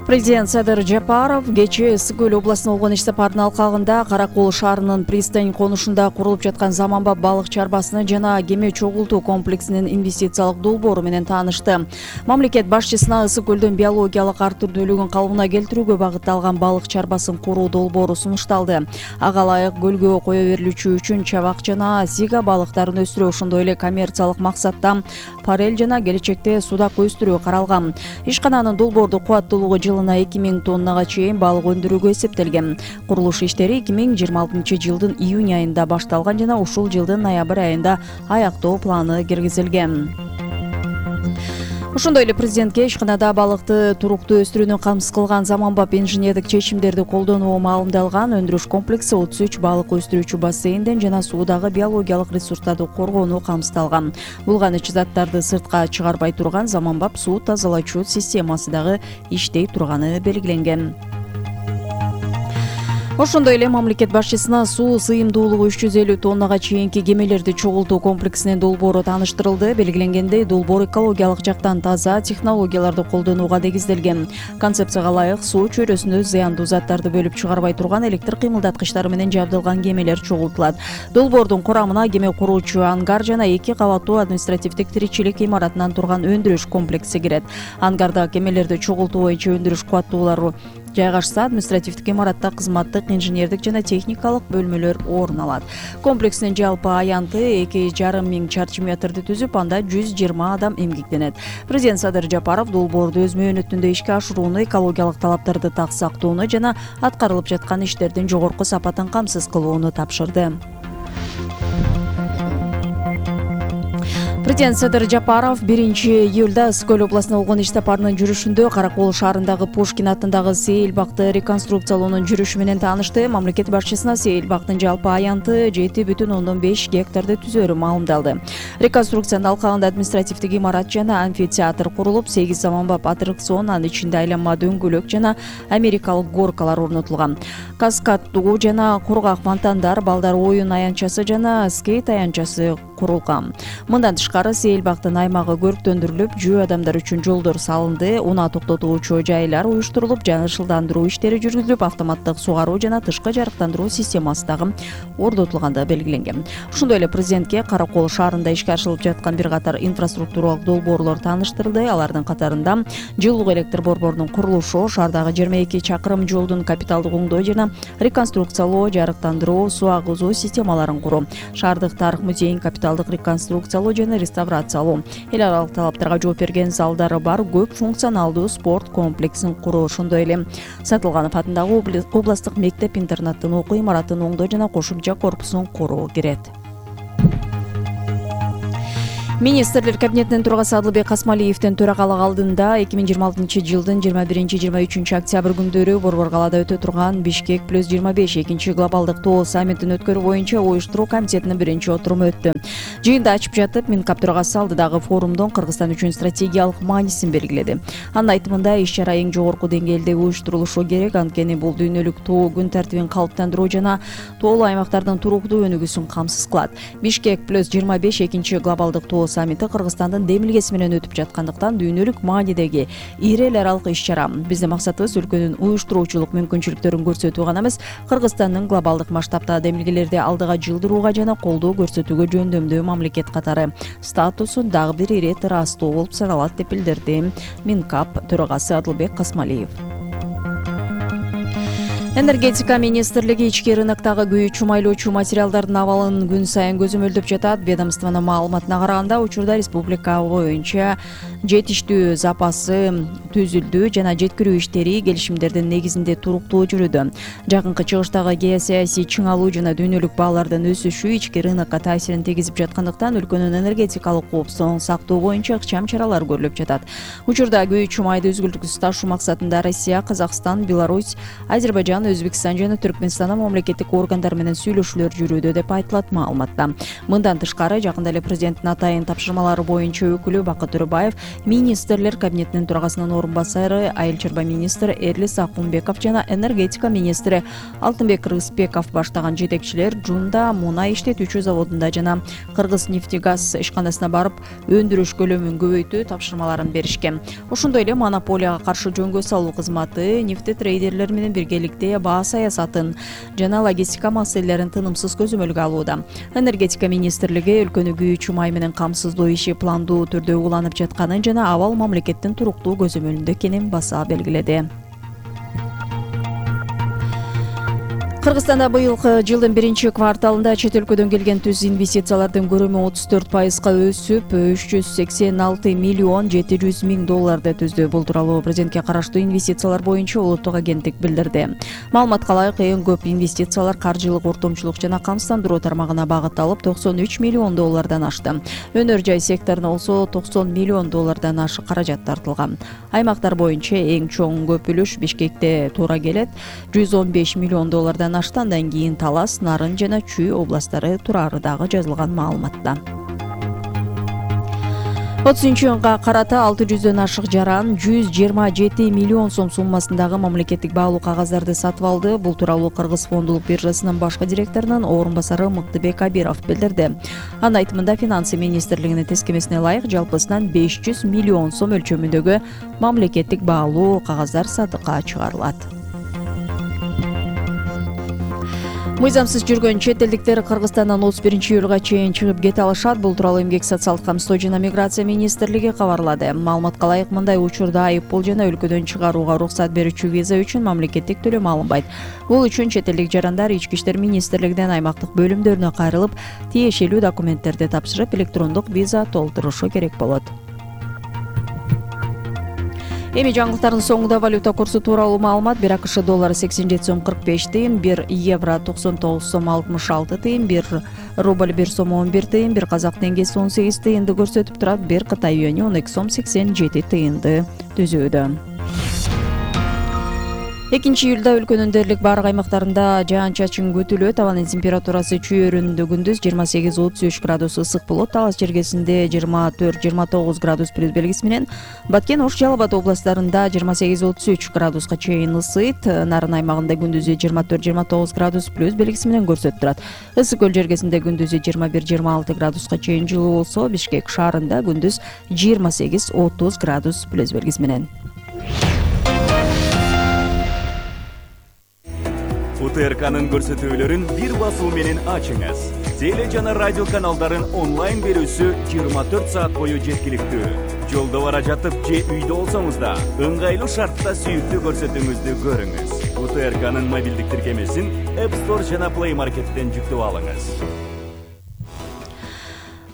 Президент Садыр Жапаров кечээ Ысык көл областына болгон иш сапарынын алкагында Кара Кол шаарынын пристань конушунда курулуп жаткан заманбап балык чарбасыны жана кеме чогултуу комплексинин инвестициялык долбоору менен таанышты. Мамлекет башчысына Ысык көлдүн биологиялык ар түрдүүлүгүн калыбына келтирүүгө багытталган балык чарбасын куруу долбоору сунушталды. Ага ылайык көлгө кое берилүүчү үчүн чабак жана сига балыктарын өстүрүү, ошондой эле коммерциялык максатта парель жана келечекте судак өстүрүү каралган. Ишкананын долбоордук кубаттуулугу жылына 2000 тоннага чейин балык өндүрүүгө эсептелген. Курулуш иштери 2026-жылдын июнь айында башталган жана ушул жылдын ноябрь айында аяктоо планы киргизилген. Ошондой эле президентке ишканада балыкты туруктуу өстүрүүнү камсыз кылган заманбап инженердик чечимдерди колдонуу маалымдалган. Өндүрүш комплекси 33 балык өстүрүүчү бассейнден жана суудагы биологиялык ресурстарды коргоону камсыздалган. Булганыч заттарды сыртка чыгарбай турган заманбап суу тазалоочу системасы дагы иштей турганы белгиленген. Ошондой эле мамлекет башчысына суу сыйымдуулугу 350 тоннага чейинки кемелерди чогултуу комплексинин долбоору тааныштырылды. Белгиленгендей, долбоор экологиялык жактан таза технологияларды колдонууга негизделген. Концепцияга ылайык суу чөйрөсүндө зыяндуу заттарды бөлүп чыгарбай турган электр кыймылдаткычтары менен жабдылган кемелер чогултулат. Долбоордун курамына кеме куруучу ангар жана 2 кабаттуу административдик тиричилик имаратынан турган өндүрүш комплекси кирет. Ангарда кемелерди чогултуу боюнча өндүрүш кубаттуулары жайгашса, административдик имаратта кызматтык, инженердик жана техникалык бөлмөлөр орун алат. Комплекстин жалпы аянты 2,5 миң чарчы метрди түзүп, анда 120 адам эмгектенет. Президент Садыр Жапаров долбоорду өз мөөнөтүндө ишке ашырууну, экологиялык талаптарды так сактоону жана аткарылып жаткан иштердин жогорку сапатын камсыз кылууну тапшырды. Президент Садыр Жапаров 1-июлда Ысык көл областына болгон иш сапарынын жүрүшүндө Кара Кол шаарындагы Пушкин атындагы Сейил бакты реконструкциялоонун жүрүшү менен таанышты. Мамлекет башчысына Сейил бактын жалпы аянты 7,5 гектарды түзөөрү маалымдалды. Реконструкциянын алкагында административдик имарат жана амфитеатр курулуп, 8 заманбап аттракцион, анын ичинде айланма дөңгөлөк жана америкалык горкалар орнотулган. Каскаддуу жана кургак фонтандар, балдар оюн аянтчасы жана скейт аянтчасы курулган. Мындан тышкары Сейил бактын аймагы көрктөндүрүлүп, жөө адамдар үчүн жолдор салынды, унаа токтотуучу жайлар уюштурулуп, жашылдандыруу иштери жүргүзүлүп, автоматтык сугаруу жана тышкы жарыктандыруу системасы дагы орнотулганы белгиленген. Ошондой эле президентке Кара Кол шаарында ишке ашырылып жаткан бир катар инфраструктуралык долбоорлор тааныштырылды. Алардын катарында жылуулук электр борборунун курулушу, шаардагы 22 чакырым жолдун капиталдык оңдоо жана реконструкциялоо, жарыктандыруу, суу агызуу системаларын куруу, шаардык тарых музейин капиталдык реконструкциялоо жана реставрациялоо, эл аралык талаптарга жооп берген залдары бар көп функционалдуу спорт комплексин куруу, ошондой эле Сатылганов атындагы областтык мектеп-интернаттын окуу имаратын оңдоо жана кошумча корпусун куруу кирет. Министрлер кабинетинин төрагасы Адылбек Касмалиевдин төрагалык алдында 2026-жылдын 21-23 октябрь күндөрү Борбор калаада өтө турган Бишкек+25 экинчи глобалдык тоо саммитин өткөрүү боюнча уюштуруу комитетинин биринчи отуруму өттү. Жыйында ачып жатып, Минкап төрагасы алдыдагы форумдун Кыргызстан үчүн стратегиялык маанисин белгиледи. Анын айтымында, иш-чара эң жогорку деңгээлде уюштурулушу керек, анткени бул дүйнөлүк тоо күн тартибин калыптандыруу жана тоолуу аймактардын туруктуу өнүгүүсүн камсыз кылат. Бишкек+25 экинчи глобалдык тоо саммити Кыргызстандын демилгеси менен өтүп жаткандыктан дүйнөлүк маанидеги ири эл аралык иш-чара. Биздин максатыбыз өлкөнүн уюштуруучулук мүмкүнчүлүктөрүн көрсөтүү гана эмес, Кыргызстандын глобалдык масштабта демилгелерди алдыга жылдырууга жана колдоо көрсөтүүгө жөндөмдүү мамлекет катары статусун дагы бир ирет ырастоо болуп саналат, деп билдирди Минкап төрагасы Адылбек Касмалиев. Энергетика министрлиги ички рыноктогу күйүүчү майлоочу материалдардын абалын күн сайын көзөмөлдөп жатат. Ведомствонун маалыматына караганда, учурда республика боюнча жетиштүү запасы түзүлдү жана жеткирүү иштери келишимдердин негизинде туруктуу жүрүүдө. Жакынкы чыгыштагы геосаясий чыңалуу жана дүйнөлүк баалардын өсүшү ички рынокко таасирин тийгизип жаткандыктан өлкөнүн энергетикалык коопсуздугун сактоо боюнча ыкчам чаралар көрүлүп жатат. Учурда күйүүчү майды үзгүлтүксүз ташуу максатында Россия, Казакстан, Беларусь, Азербайжан, Өзбекстан жана Түркмөнстандын мамлекеттик органдары менен сүйлөшүүлөр жүрүүдө деп айтылат маалыматта. Мындан тышкары жакында эле президенттин атайын тапшырмалары боюнча өкүлү Бакыт Төрөбаев, министрлер кабинетинин төрагасынын орун басары Айыл чарба министри Эрлис Акунбеков жана энергетика министри Алтынбек Рыспеков баштаган жетекчилер Жунда мунай иштетүүчү заводунда жана Кыргыз нефтегаз ишканасына барып өндүрүш көлөмүн көбөйтүү тапшырмаларын беришкен. Ошондой эле монополияга каршы жөнгө салуу кызматы, нефти трейдерлер менен биргеликте баа саясатын жана логистика маселелерин тынымсыз көзөмөлгө алууда. Энергетика министрлиги өлкөнү күйүүчү май менен камсыздоо иши пландуу түрдө уланып жатканын жана абал мамлекеттин туруктуу көзөмөлүндө экенин баса белгиледи. Кыргызстанда быйылкы жылдын биринчи кварталында чет өлкөдөн келген түз инвестициялардын көлөмү 34%га өсүп, 386 миллион 700 миң долларды түздү. Бул тууралуу президентке караштуу инвестициялар боюнча улуттук агенттик билдирди. Маалыматка ылайык, эң көп инвестициялар каржылык ортомчулук жана камсыздандыруу тармагына багытталып, 93 миллион доллардан ашты. Өнөр жай секторуна болсо 90 миллион доллардан ашык каражат тартылган. Аймактар боюнча эң чоң көп үлүш Бишкекте туура келет, 115 миллион доллардан ашты. Андан кийин Талас, Нарын жана Чүй областтары турары дагы жазылган маалыматта. 30-июнга карата 600дөн ашык жаран 127 миллион сом суммасындагы мамлекеттик баалуу кагаздарды сатып алды. Бул тууралуу Кыргыз фондулук биржасынын башкы директорунун орун басары Мыктыбек Абиров билдирди. Анын айтымында Финансы министрлигинин тескемесине ылайык жалпысынан 500 миллион сом өлчөмүндөгү мамлекеттик баалуу кагаздар сатыкка чыгарылат. Мыйзамсыз жүргөн чет элдиктер Кыргызстандан 31-июлга чейин чыгып кете алышат. Бул тууралуу Эмгек социалдык камсыздоо жана миграция министрлиги кабарлады. Маалыматка ылайык, мындай учурда айыппул жана өлкөдөн чыгарууга уруксат берүүчү виза үчүн мамлекеттик төлөм алынбайт. Бул үчүн чет элдик жарандар Ички иштер министрлигинен аймактык бөлүмдөрүнө кайрылып, тиешелүү документтерди тапшырып, электрондук виза толтурушу керек болот. Эми жаңылыктардын соңунда валюта курсу тууралуу маалымат. 1 АКШ доллары 87 сом 45 тыйын, 1 евро 99 сом 66 тыйын, 1 рубль 1 сом 11 тыйын, 1 казак теңгеси 18 тыйынды көрсөтүп турат, 1 Кытай юаньи 12 сом 87 тыйынды түзүүдө. 2-июлда өлкөнүн дээрлик баардык аймактарында жаан-чачын күтүлөт. Абанын температурасы Чүй өрүнүндө күндүз 28-33 градус ысык болот. Талас жергесинде 24-29 градус плюс белгиси менен, Баткен, Ош, Жалал Абад областарында 28-33 градуска чейин ысыйт. Нарын аймагында күндүзү 24-29 градус плюс белгиси менен көрсөтүп турат. Ысык көл жергесинде күндүзү 21-26 градуска чейин жылуу болсо, Бишкек шаарында күндүз 28-30 градус плюс белгиси менен. УТРКнын көрсөтүүлөрүн бир басуу менен ачыңыз. Теле жана радио каналдарын онлайн берүүсү 24 саат бою жеткиликтүү. Жолдо бара жатып же үйдө болсоңуз да, ыңгайлуу шартта сүйүктүү көрсөтүүңүздү көрүңүз. УТРКнын мобилдик тиркемесин App Store жана Play Market'тен жүктөп алыңыз.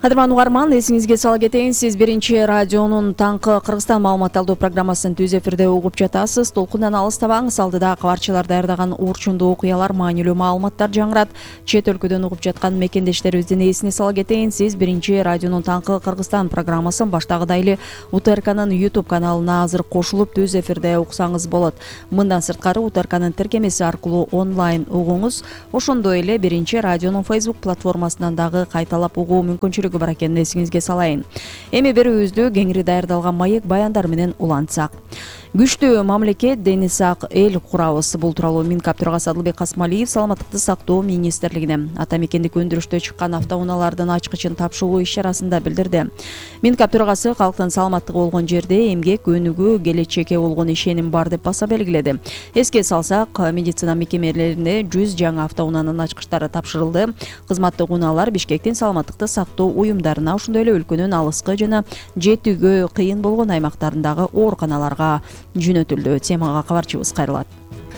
Кадырман угарман, эсиңизге сала кетейин, сиз биринчи радионун таңкы Кыргызстан маалымат алуу программасын түз эфирде угуп жатасыз. Толкундан алыстабаңыз, алдыда кабарчылар даярдаган уурчундуу окуялар, маанилүү маалыматтар жаңырат. Чет өлкөдөн угуп жаткан мекендештерибиздин эсине сала кетейин, сиз биринчи радионун таңкы Кыргызстан программасын баштагыдай эле УТРКнын YouTube каналына азыр кошулуп түз эфирде уксаңыз болот. Мындан сырткары УТРКнын тиркемеси аркылуу онлайн угуңуз. Ошондой эле биринчи радионун Facebook платформасынан дагы кайталап угуу мүмкүнчүлүгү бар экенин эсиңизге салайын. Эми берүүбүздү кеңири даярдалган маек баяндар менен улантсак. Күчтүү мамлекет, дени сак эл курабыз. Бул тууралуу Минкап төрагасы Адылбек Касмалиев саламаттыкты сактоо министрлигине ата мекендик өндүрүштө чыккан автоунаалардын ачкычын тапшыруу иш-чарасында билдирди. Минкап төрагасы калктын саламаттыгы болгон жерде эмгек, өнүгүү, келечекке болгон ишеним бар деп баса белгиледи. Эске салсак, медицина мекемелерине 100 жаңы автоунаанын ачкычтары тапшырылды. Кызматтык унаалар Бишкектин саламаттыкты сактоо уюмдарына, ошондой эле өлкөнүн алыскы жана жетүүгө кыйын болгон аймактарындагы ооруканаларга жөнөтүлдү. Темага кабарчыбыз кайрылат.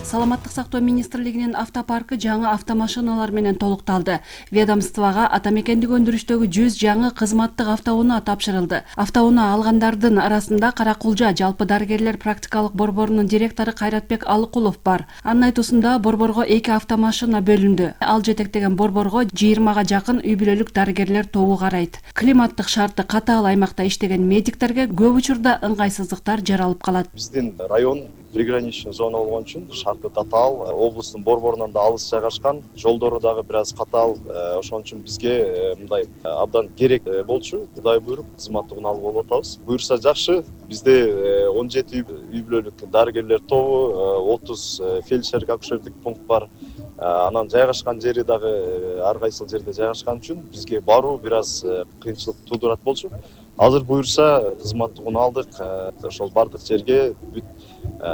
Саламаттык сактоо министрлигинин автопаркы жаңы автомашиналар менен толукталды. Ведомствого ата мекендик өндүрүштөгү 100 жаңы кызматтык автоунаа тапшырылды. Автоунаа алгандардын арасында Каракулжа жалпы дарыгерлер практикалык борборунун директору Кайратбек Алыкулов бар. Анын айтуусунда борборго 2 автомашина бөлүндү. Ал жетектеген борборго 20га жакын үй бүлөлүк дарыгерлер тобу карайт. Климаттык шарты катаал аймакта иштеген медиктерге көп учурда ыңгайсыздыктар жаралып калат. Биздин район приграничный зона болгон үчүн шарты татаал, облустун борборунан да алыс жайгашкан, жолдору дагы бир аз катаал. Ошон үчүн бизге мындай абдан керек болчу. Кудай буйруп кызматтыгын алып болуп атабыз. Буюрса жакшы. Бизде 17 үй бүлөлүк дарыгерлер тобу, 30 фельдшерлик акушерлик пункт бар. Анан жайгашкан жери дагы ар кайсыл жерде жайгашкан үчүн бизге баруу бир аз кыйынчылык туудурат болчу. Азыр буюрса кызматтыгын алдык. Ошол бардык жерге бүт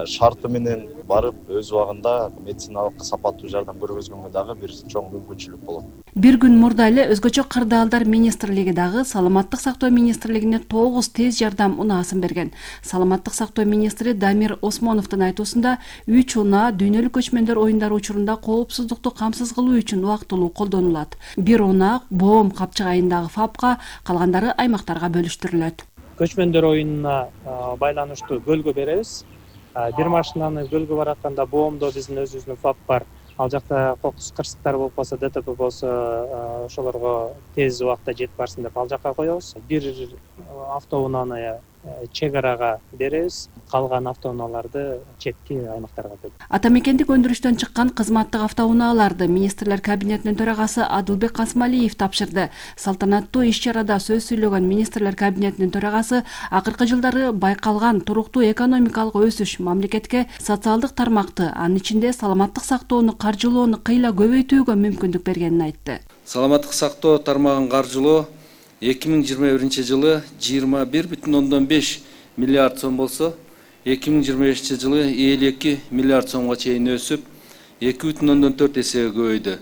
шарты менен барып өз убагында медициналык сапаттуу жардам көргөзгөнгө дагы бир чоң мүмкүнчүлүк болот. Бир күн мурда эле өзгөчө кырдаалдар министрлиги дагы Саламаттык сактоо министрлигине 9 тез жардам унаасын берген. Саламаттык сактоо министри Дамир Осмоновдун айтуусунда 3 унаа дүйнөлүк көчмөндөр оюндары учурунда коопсуздукту камсыз кылуу үчүн убактылуу колдонулат. Бир унаа Боом капчыгайындагы ФАПка, калгандары аймактарга бөлүштүрүлөт. Көчмөндөр оюнуна байланыштуу көлгө беребиз. Бир машинаны көлгө баратканда Боомдо биздин өзүбүздүн ФАП бар. Ал жакта кокус кырсыктар болуп калса, ДТП болсо, ошолорго тез убакта жетип барсын деп ал жакка коебуз. Бир автоунааны чек арага беребиз, калган автоунааларды четки аймактарга беребиз. Атамекендик өндүрүштөн чыккан кызматтык автоунааларды министрлер кабинетинин төрагасы Адылбек Касымалиев тапшырды. Салтанаттуу иш-чарада сөз сүйлөгөн министрлер кабинетинин төрагасы акыркы жылдары байкалган туруктуу экономикалык өсүш мамлекетке социалдык тармакты, анын ичинде саламаттык сактоону каржылоону кыйла көбөйтүүгө мүмкүндүк бергенин айтты. Саламаттык сактоо тармагын каржылоо 2021 жылы 21,5 миллиард сом болсо, 2025 жылы 52 миллиард сомго чейин өсүп, 2,4 эсеге көбөйдү.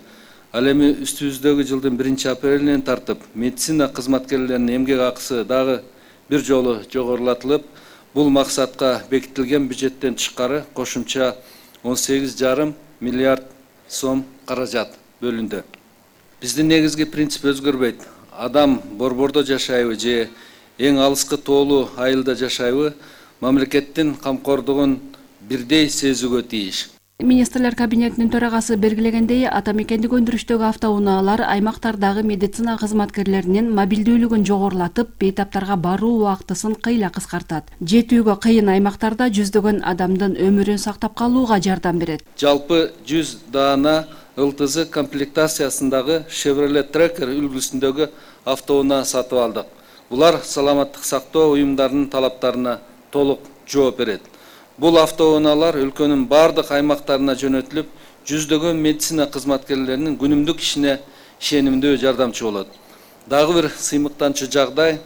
Ал эми үстүбүздөгү жылдын 1-апрелинен тартып, медицина кызматкерлеринин эмгек акысы дагы бир жолу жогорулатылып, бул максатка бекитилген бюджеттен тышкары кошумча 18,5 миллиард сом каражат бөлүндү. Биздин негизги принцип өзгөрбөйт. Адам борбордо жашайбы же эң алыскы тоолуу айылда жашайбы, мамлекеттин камкордугун бирдей сезүүгө тийиш. Министрлер кабинетинин төрагасы белгилегендей, атамекендик өндүрүштөгү автоунаалар аймактардагы медицина кызматкерлеринин мобилдүүлүгүн жогорулатып, бейтаптарга баруу убактысын кыйла кыскартат. Жетүүгө кыйын аймактарда жүздөгөн адамдын өмүрүн сактап калууга жардам берет. Жалпы 100 даана ЛТЗ комплектациясындагы Chevrolet Tracker үлгүсүндөгү автоунаа сатып алдык. Булар саламаттык сактоо уюмдарынын талаптарына толук жооп берет. Бул автоунаалар өлкөнүн бардык аймактарына жөнөтүлүп, жүздөгөн медицина кызматкерлеринин күнүмдүк ишине ишенимдүү жардамчы болот. Дагы бир сыймыктанчу жагдай,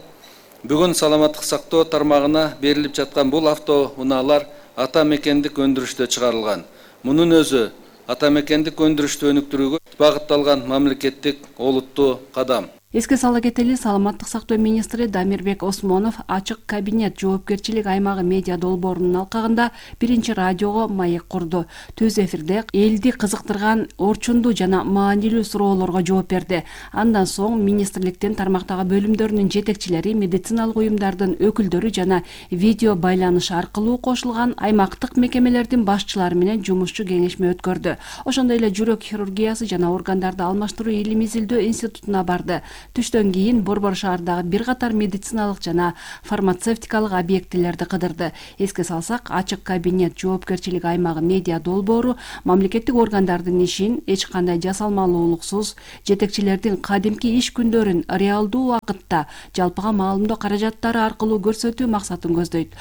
бүгүн саламаттык сактоо тармагына берилип жаткан бул автоунаалар атамекендик өндүрүштө чыгарылган. Мунун өзү атамекендик өндүрүштү өнүктүрүүгө багытталган мамлекеттик олуттуу кадам. Эске сала кетели, саламаттык сактоо министри Дамирбек Осмонов ачык кабинет жоопкерчилик аймагы медиа долбоорунун алкагында 1-радиого маек курду. Түз эфирде элди кызыктырган орчундуу жана маанилүү суроолорго жооп берди. Андан соң министрликтин тармактагы бөлүмдөрүнүн жетекчилери, медициналык уюмдардын өкүлдөрү жана видео байланыш аркылуу кошулган аймактык мекемелердин башчылары менен жумушчу кеңешме өткөрдү. Ошондой эле жүрөк хирургиясы жана органдарды алмаштыруу илим изилдөө институтуна барды. Түштөн кийин Борбор шаардагы бир катар медициналык жана фармацевтикалык объектилерди кыдырды. Эске салсак, ачык кабинет жоопкерчилик аймагы медиа долбоору мамлекеттик органдардын ишин эч кандай жасалмалуулуксуз, жетекчилердин кадимки иш күндөрүн реалдуу убакытта жалпыга маалымдоо каражаттары аркылуу көрсөтүү максатын көздөйт.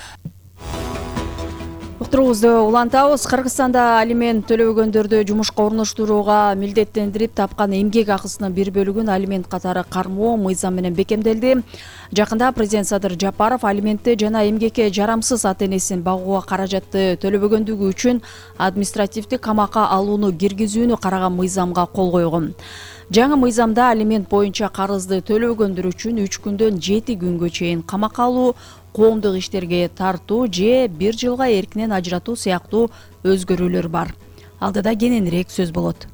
Уктуруубузду улантабыз. Кыргызстанда алимент төлөбөгөндөрдү жумушка орноштурууга милдеттендирип тапкан эмгек акысынын бир бөлүгүн алимент катары кармоо мыйзам менен бекемделди. Жакында президент Садыр Жапаров алиментти жана эмгекке жарамсыз ата-энесин багууга каражатты төлөбөгөндүгү үчүн административдик камакка алууну киргизүүнү караган мыйзамга кол койгон. Жаңы мыйзамда алимент боюнча карызды төлөбөгөндөр үчүн 3 күндөн 7 күнгө чейин камакка алуу, коомдук иштерге тартуу же 1 жылга эркинен ажыратуу сыяктуу өзгөрүүлөр бар. Алдыда кененирээк сөз болот.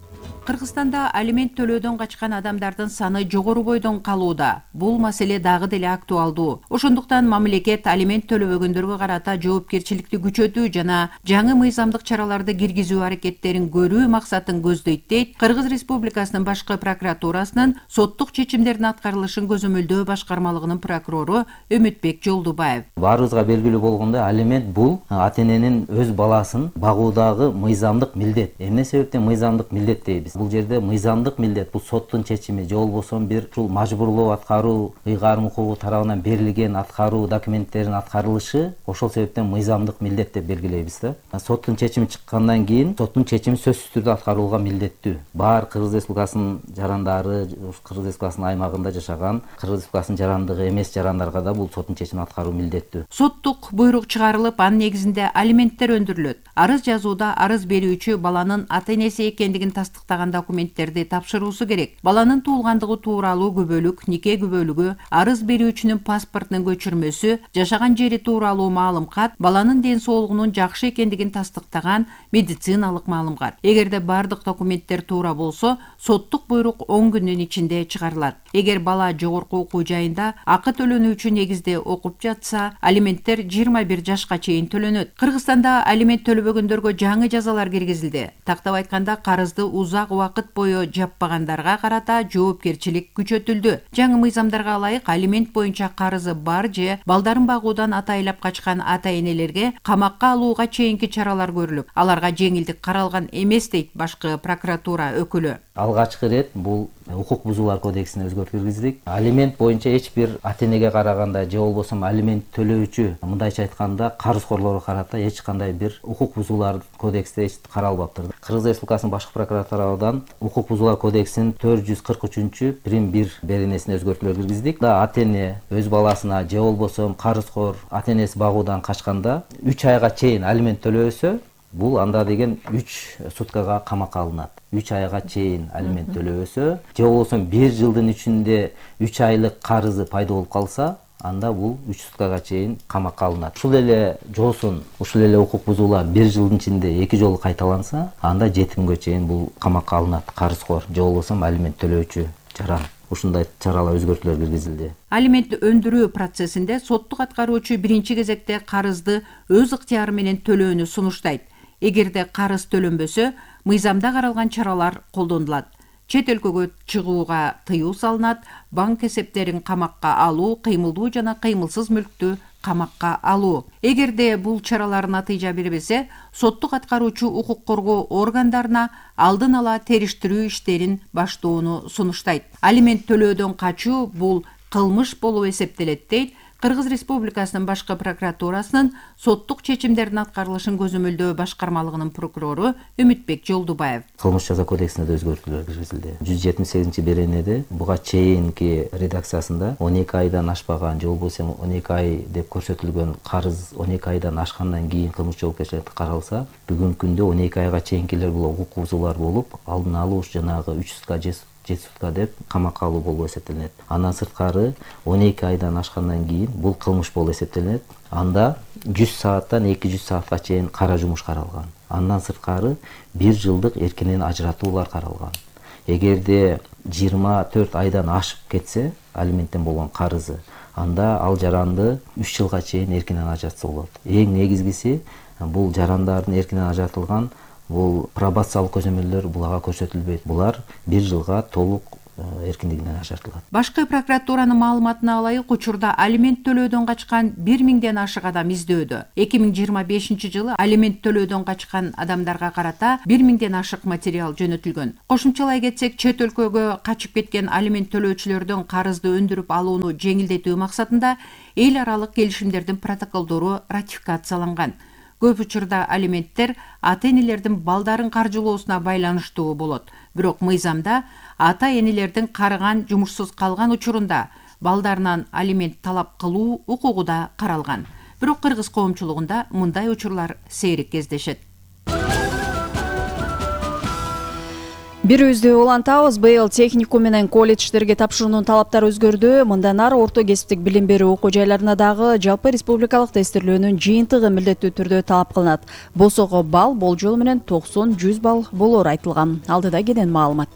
Кыргызстанда алимент төлөөдөн качкан адамдардын саны жогору бойдон калууда. Бул маселе дагы деле актуалдуу. Ошондуктан мамлекет алимент төлөбөгөндөргө карата жоопкерчиликти күчөтүү жана жаңы мыйзамдык чараларды киргизүү аракеттерин көрүү максатын көздөйт дейт Кыргыз Республикасынын башкы прокуратурасынын соттук чечимдердин аткарылышын көзөмөлдөө башкармалыгынын прокурору Өмүтбек Жолдубаев. Баарыбызга белгилүү болгондой, алимент бул ата эненин өз баласын багуудагы мыйзамдык милдет. Эмне себептен мыйзамдык милдет дейбиз? Бул жерде мыйзамдык милдет, бул соттун чечими же болбосо бир ушул мажбурлоо аткаруу, ыйгарым укугу тарабынан берилген аткаруу документтеринин аткарылышы ошол себептен мыйзамдык милдет деп белгилейбиз да. Соттун чечими чыккандан кийин соттун чечими сөзсүз түрдө аткарылууга милдеттүү. Бар Кыргыз Республикасынын жарандары, Кыргыз Республикасынын аймагында жашаган Кыргыз Республикасынын жарандыгы эмес жарандарга да бул соттун чечимин аткаруу милдеттүү. Соттук буйрук чыгарылып, анын негизинде алименттер өндүрүлөт. Арыз жазууда арыз берүүчү баланын ата энеси экендигин тастыктаган документтерди тапшыруусу керек. Баланын туулгандыгы тууралуу күбөлүк, нике күбөлүгү, арыз берүүчүнүн паспортунун көчүрмөсү, жашаган жери тууралуу маалым кат, баланын ден соолугунун жакшы экендигин тастыктаган медициналык маалым кат. Эгерде бардык документтер туура болсо, соттук буйрук 10 күндүн ичинде чыгарылат. Эгер бала жогорку окуу жайында акы төлөнүүчү негизде окуп жатса, алименттер 21 жашка чейин төлөнөт. Кыргызстанда алимент төлөбөгөндөргө жаңы жазалар киргизилди. Тактап айтканда, карызды узак убакыт бою жаппагандарга карата жоопкерчилик күчөтүлдү. Жаңы мыйзамдарга ылайык, алимент боюнча карызы бар же балдарын багуудан атайлап качкан ата энелерге камакка алууга чейинки чаралар көрүлүп, аларга жеңилдик каралган эмес дейт башкы прокуратура өкүлү. Алгачкы ирет бул укук бузуулар кодексине өзгөртүү киргиздик. Алимент боюнча эч бир ата энеге караганда же болбосо алимент төлөөчү, мындайча айтканда, карызкорлорго карата эч кандай бир укук бузуулар кодексте каралбаптыр. Кыргыз Республикасынын башкы прокуратурадан укук бузуулар кодексинин 443-1 беренесине өзгөртүүлөр киргиздик. Ата эне өз баласына же болбосо карызкор ата энеси багуудан качканда 3 айга чейин алимент төлөбөсө, бул анда деген 3 суткага камакка алынат. 3 айга чейин алимент төлөбөсө, же болбосо 1 жылдын ичинде 3 айлык карызы пайда болуп калса, анда бул 3 суткага чейин камакка алынат. Ушул эле жоосун, ушул эле укук бузуулар 1 жылдын ичинде 2 жолу кайталанса, анда 7 күнгө чейин бул камакка алынат карызкор же болбосо алимент төлөөчү жаран. Ушундай чаралар өзгөртүүлөр киргизилди. Алимент өндүрүү процессинде соттук аткаруучу биринчи кезекте карызды өз ыктыяры менен төлөөнү сунуштайт. Эгерде карыз төлөнбөсө, мыйзамда каралган чаралар колдонулат. Чет өлкөгө чыгууга тыюу салынат, банк эсептерин камакка алуу, кыймылдуу жана кыймылсыз мүлктү камакка алуу. Эгерде бул чаралар натыйжа бербесе, соттук аткаруучу укук коргоо органдарына алдын ала териштирүү иштерин баштоону сунуштайт. Алимент төлөөдөн качуу бул кылмыш болуп эсептелет дейт Кыргыз Республикасынын башкы прокуратурасынын соттук чечимдердин аткарылышын көзөмөлдөө башкармалыгынын прокурору Өмүтбек Жолдубаев. Кылмыш жаза кодексине да өзгөртүүлөр киргизилди. 178 беренеде буга чейинки редакциясында 12 айдан ашпаган же болбосо 12 ай деп көрсөтүлгөн карыз 12 айдан ашкандан кийин кылмыш жоопкерчиликке каралса, бүгүнкү күндө 12 айга чейинкилер бул укук бузуулар болуп, алдын алуу жанагы 3 сутка 7 сутка деп камакка алуу болуп эсептелет. Андан сырткары 12 айдан ашкандан кийин бул кылмыш болуп эсептелет. Анда 100 сааттан 200 саатка чейин кара жумуш каралган. Андан сырткары 1 жылдык эркинен ажыратуулар каралган. Эгерде 24 айдан ашып кетсе, алименттен болгон карызы, анда ал жаранды 3 жылга чейин эркинен ажыратса болот. Эң негизгиси бул жарандардын эркинен ажыратылган бул пробациялык көзөмөлдөр буларга көрсөтүлбөйт. Булар 1 жылга толук эркиндигинен ажыратылат. Башкы прокуратуранын маалыматына ылайык, учурда алимент төлөөдөн качкан 1000ден ашык адам издөөдө. 2025 жылы алимент төлөөдөн качкан адамдарга карата 1000ден ашык материал жөнөтүлгөн. Кошумчалай кетсек, чет өлкөгө качып кеткен алимент төлөөчүлөрдүн карызды өндүрүп алууну жеңилдетүү максатында эл аралык келишимдердин протоколдору ратификацияланган. Көп учурда алименттер ата энелердин балдарын каржылоосуна байланыштуу болот. Бирок мыйзамда ата энелердин карыган, жумушсуз калган учурунда балдарынан алимент талап кылуу укугу да каралган. Бирок кыргыз коомчулугунда мындай учурлар сейрек кездешет. Бирибизди улантабыз. Быйыл техникум менен колледждерге тапшыруунун талаптары өзгөрдү. Мындан ары орто кесиптик билим берүү окуу жайларына дагы жалпы республикалык тестирлөөнүн жыйынтыгы милдеттүү түрдө талап кылынат. БОСОго балл болжол менен 90-100 балл болору айтылган. Алдыда кенен маалымат.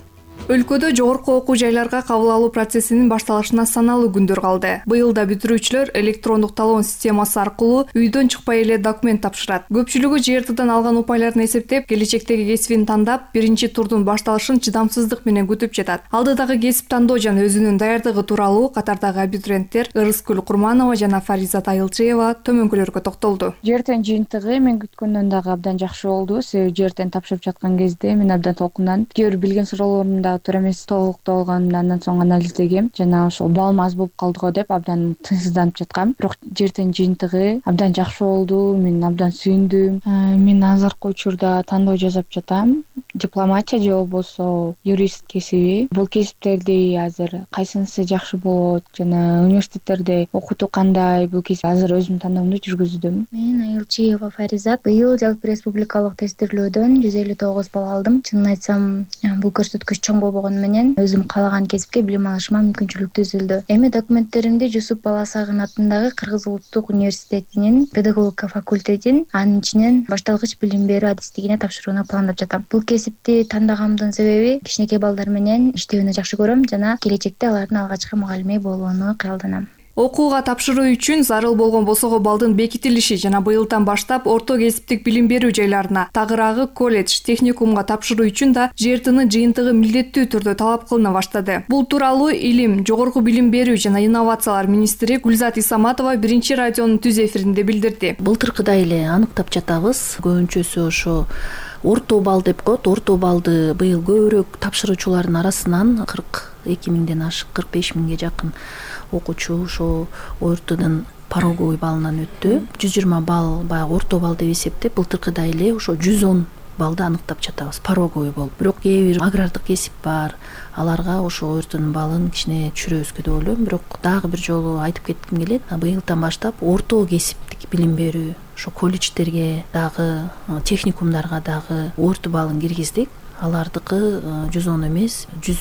Өлкөдө жогорку окуу жайларга кабыл алуу процессинин башталышына саналуу күндөр калды. Быйыл да бүтүрүүчүлөр электрондук талоон системасы аркылуу үйдөн чыкпай эле документ тапшырат. Көпчүлүгү ЖРТдан алган упайларын эсептеп, келечектеги кесибин тандап, биринчи турдун башталышын чыдамсыздык менен күтүп жатат. Алдыдагы кесип тандоо жана өзүнүн даярдыгы тууралуу катардагы абитуриенттер Ырыскүл Курманова жана Фаризат Айылчиева төмөнкүлөргө токтолду. ЖРТнин жыйынтыгы мен күткөндөн дагы абдан жакшы болду. Себеби ЖРТни тапшырып жаткан кезде мен абдан толкунданып, кээ бир билген суроолорумду туура эмес толуктоо алганымда андан соң анализдегем. Жана ошол балым аз болуп калды го деп абдан тынчсызданып жаткам. Бирок ЖРТнин жыйынтыгы абдан жакшы болду. Мен абдан сүйүндүм. Мен азыркы учурда тандоо жасап жатам. Дипломатия же болбосо юрист кесиби. Бул кесиптерди азыр кайсынысы жакшы болот жана университеттерде окутуу кандай, бул кесип азыр өзүмдүн тандоомду жүргүздүм. Мен Айылчиева Фаризат. Быйыл жалпы республикалык тестирлөөдөн 159 балл алдым. Чынын айтсам, бул көрсөткүч чоң болбогону менен өзүм каалаган кесипке билим алышыма мүмкүнчүлүк түзүлдү. Эми документтеримди Жусуп Баласагын атындагы Кыргыз Улуттук университетинин педагогика факультетин, анын ичинен башталгыч билим берүү адистигине тапшырууна пландап жатам. Бул кесипти тандагандын себеби кичинекей балдар менен иштөөнү жакшы көрөм жана келечекте алардын алгачкы мугалими болууну кыялданам. Окууга тапшыруу үчүн зарыл болгон БОСОго балдын бекитилиши жана быйылдан баштап орто кесиптик билим берүү жайларына, тагыраагы колледж, техникумга тапшыруу үчүн да ЖРТнын жыйынтыгы милдеттүү түрдө талап кылына баштады. Бул тууралуу Илим, жогорку билим берүү жана инновациялар министри Гүлзат Исаматова биринчи радионун түз эфиринде билдирди. Былтыркыдай эле аныктап жатабыз. Көбүнчөсү ошо орто балл деп коет. Орто баллды быйыл көбүрөөк тапшыруучулардын арасынан 42 миңден ашык 45 миңге жакын окуучу ошо ОРТдун пороговый баллынан өттү. 120 балл баягы орто балл деп эсептеп, былтыркыдай эле ошо 110 баллды аныктап жатабыз, пороговый болуп. Бирок кээ бир агрардык кесип бар, аларга ошо ОРТнун баллын кичине түшүрөбүзгө деп ойлойм. Бирок дагы бир жолу айтып кетким келет. Быйылдан баштап орто кесиптик билим берүү, ошо колледждерге дагы, техникумдарга дагы ОРТ баллын киргиздик. Алардыкы 110 эмес, 100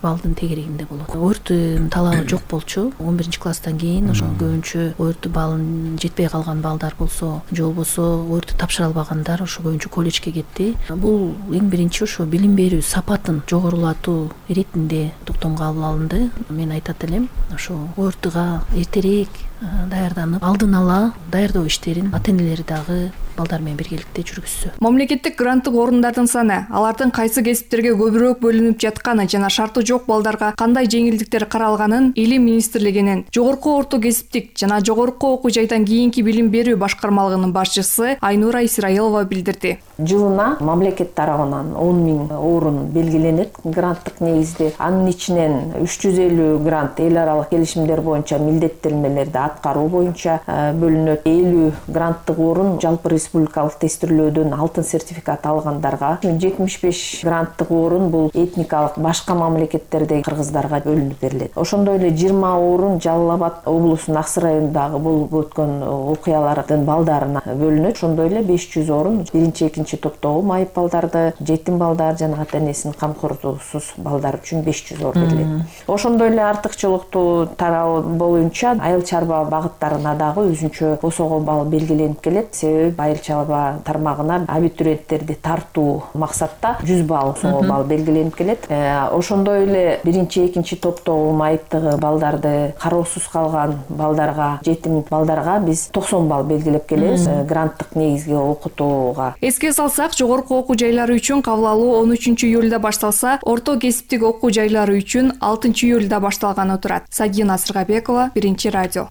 балдын тегерегинде болот. ОРТ талабы жок болчу. 11-класстан кийин ошо көбүнчө ОРТ баллын жетпей калган балдар болсо, же болбосо ОРТ тапшыра албагандар ошо көбүнчө колледжге кетти. Бул эң биринчи ошо билим берүү сапатын жогорулатуу иретинде токтомго алынды. Мен айтат элем, ошо ОРТга эртерээк даярданып, алдын ала даярдоо иштерин ата-энелери дагы балдар менен биргеликте жүргүзсө. Мамлекеттик гранттык орундардын саны, алардын кайсы кесиптерге көбүрөөк бөлүнүп жатканы жана шарты жок балдарга кандай жеңилдиктер каралганын Илим министрлигинин жогорку орто кесиптик жана жогорку окуу жайдан кийинки билим берүү башкармалыгынын башчысы Айнура Исраилова билдирди. Жылына мамлекет тарабынан 10 миң орун белгиленет гранттык негизде. Анын ичинен 350 грант эл аралык келишимдер боюнча милдеттенмелерди аткаруу боюнча бөлүнөт. 50 гранттык орун жалпы республикалык тестирлөөдөн алтын сертификат алгандарга, 75 гранттык орун бул этникалык башка мамлекеттердеги кыргыздарга бөлүнүп берилет. Ошондой эле 20 орун Жалал Абад облусунун Аксы районундагы болуп өткөн окуялардын балдарына бөлүнөт. Ошондой эле 500 орун биринчи, экинчи топтогу майып балдарды, жетим балдар жана ата-энесинин камкордугусуз балдар үчүн 500 орун берилет. Ошондой эле артыкчылыктуу тарабы боюнча айыл чарба багыттарына дагы өзүнчө БОСОго балл белгиленип келет. Себеби айыл чарба тармагына абитуриенттерди тартуу максатта 100 балл БОСОго балл белгиленип келет. Ошондой эле биринчи, экинчи топтогу майыптыгы балдарды, кароосуз калган балдарга, жетим балдарга биз 90 балл белгилеп келебиз гранттык негизге окутууга. Эске салсак, жогорку окуу жайлары үчүн кабыл алуу 13 июлда башталса, орто кесиптик окуу жайлары үчүн 6 июлда башталганы турат. Сагина Сыргабекова, Биринчи радио.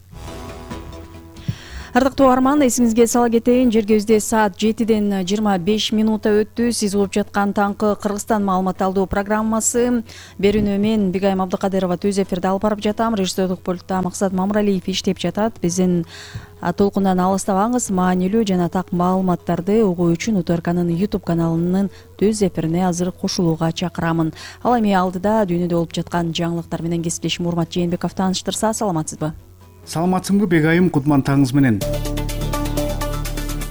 Ардактуу арман, эсиңизге сала кетейин, жергебизде саат 7-ден 25 минута өттү. Сиз угуп жаткан таңкы Кыргызстан маалымат алуу программасы. Берүүнү мен Бигайым Абдыкадырова түз эфирде алып барып жатам. Режиссерлук пультта Максат Мамыралиев иштеп жатат. Биздин толкундан алыстабаңыз, маанилүү жана так маалыматтарды угуу үчүн УТРКнын YouTube каналынын түз эфирине азыр кошулууга чакырамын. Ал эми алдыда дүйнөдө болуп жаткан жаңылыктар менен кесиптешим Урмат Жээнбеков тааныштырса, саламатсызбы? Саламатсыңбы Бегайым, кутман таңыңыз менен.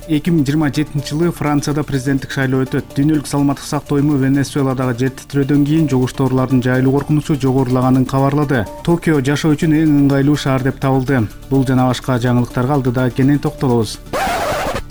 2027 Францияда президенттик шайлоо өтөт. Дүйнөлүк саламаттык сактоо уюму Венесуэладагы жер титирөөдөн кийин жугуштуу оорулардын жайылуу коркунучу жогорулаганын кабарлады. Токио жашоо үчүн эң ыңгайлуу шаар деп табылды. Бул жана башка жаңылыктарга алдыда кенен токтолобуз.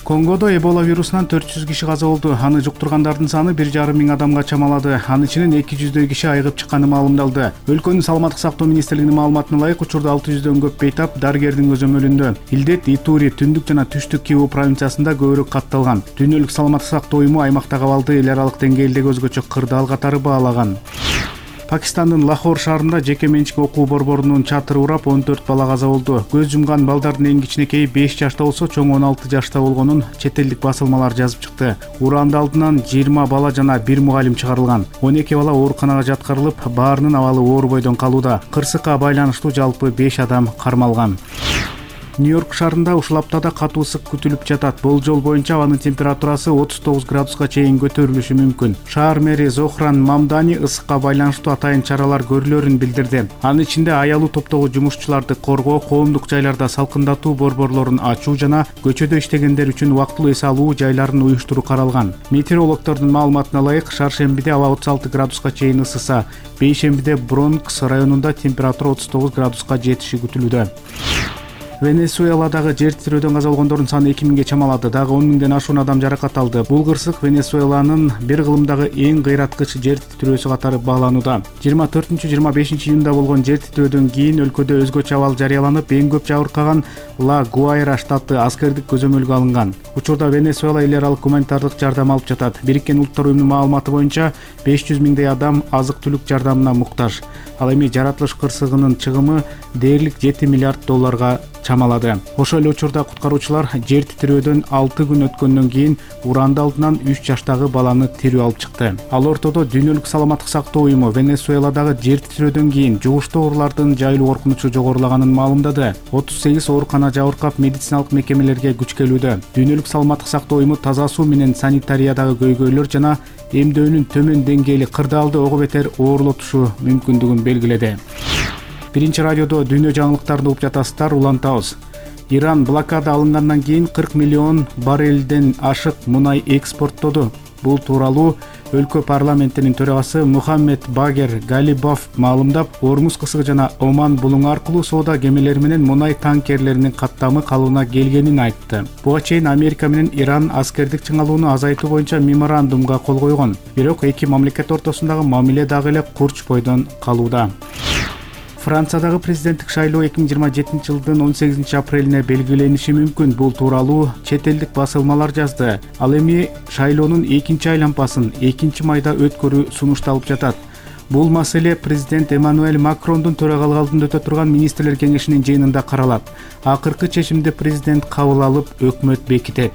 Конгодо Эбола вирусунан 400 киши каза болду. Аны жуктургандардын саны 1,5 миң адамга чамалады. Анын ичинен 200 киши айыгып чыкканы маалымдалды. Өлкөнүн саламаттык сактоо министрлигинин маалыматына ылайык, учурда 600дөн көп бейтап дарыгердин көзөмөлүндө. Илдет Итури, Түндүк жана Түштүк Киву провинциясында көбүрөөк катталган. Дүйнөлүк саламаттык сактоо уюму аймактагы абалды эл аралык деңгээлдеги өзгөчө кырдаал катары баалаган. Пакистандын Лахор шаарында жеке менчик окуу борборунун чатыры урап 14 бала каза болду. Көз жумган балдардын эң кичинекейи 5 жашта болсо, чоң 16 жашта болгонун чет элдик басылмалар жазып чыкты. Ураанды алдынан 20 бала жана 1 мугалим чыгарылган. 12 бала ооруканага жаткырылып, баарынын абалы оор бойдон калууда. Кырсыкка байланыштуу жалпы 5 адам кармалган. Нью-Йорк шаарында ушул аптада катуу ысык күтүлүп жатат. Болжол боюнча абанын температурасы 39 градуска чейин көтөрүлүшү мүмкүн. Шаар мэри Зохран Мамдани ысыкка байланыштуу атайын чаралар көрүлөрүн билдирди. Анын ичинде аялуу топтогу жумушчуларды коргоо, коомдук жайларда салкындатуу борборлорун ачуу жана көчөдө иштегендер үчүн убактылуу эс алуу жайларын уюштуруу каралган. Метеорологдордун маалыматына ылайык, шаршембиде аба 36 градуска чейин ысыса, бейшембиде Бронкс районунда температура 39 градуска жетиши күтүлүүдө. Венесуэладагы жер титирөөдөн каза болгондордун саны 2000ге чамалады. Дагы 10 миңден ашуун адам жаракат алды. Бул кырсык Венесуэланын бир кылымдагы эң кыйраткыч жер титирөөсү катары бааланууда. 24-25 июнда болгон жер титирөөдөн кийин өлкөдө өзгөчө абал жарыяланып, эң көп жабыркаган Ла Гуайра штаты аскердик көзөмөлгө алынган. Учурда Венесуэла эл аралык гуманитардык жардам алып жатат. Бириккен Улуттар уюмунун маалыматы боюнча 500 миңдей адам азык-түлүк жардамына муктаж. Ал эми жаратылыш кырсыгынын чыгымы дээрлик 7 миллиард долларга чамалады. Ошол эле учурда куткаруучулар жер титирөөдөн 6 күн өткөндөн кийин ураанды алдынан 3 жаштагы баланы тирүү алып чыкты. Ал ортодо Дүйнөлүк саламаттык сактоо уюму Венесуэладагы жер титирөөдөн кийин жугуштуу оорулардын жайылуу коркунучу жогорулаганын маалымдады. 38 оорукана жабыркап, медициналык мекемелерге күч келүүдө. Дүйнөлүк саламаттык сактоо уюму таза суу менен санитариядагы көйгөйлөр жана эмдөөнүн төмөн деңгээли кырдаалды ого бетер оорлотушу мүмкүндүгүн белгиледи. Биринчи радиодо дүйнө жаңылыктарын угуп жатасыздар, улантабыз. Иран блокада алынгандан кийин 40 миллион баррелден ашык мунай экспорттоду. Бул тууралуу өлкө парламентинин төрагасы Мухаммед Багер Галибов маалымдап, Ормуз кысыгы жана Оман булуңу аркылуу соода кемелери менен мунай танкерлеринин каттамы калыбына келгенин айтты. Буга чейин Америка менен Иран аскердик чыңалууну азайтуу боюнча меморандумга кол койгон. Бирок эки мамлекет ортосундагы мамиле дагы эле курч бойдон калууда. Франциядагы президенттик шайлоо 2027 жылдын 18 апрелине белгилениши мүмкүн. Бул тууралуу чет элдик басылмалар жазды. Ал эми шайлоонун экинчи айлампасын 2-майда өткөрүү сунушталып жатат. Бул маселе президент Эммануэль Макрондун төрагалык алдында өтө турган министрлер кеңешинин жыйынында каралат. Акыркы чечимди президент кабыл алып, өкмөт бекитет.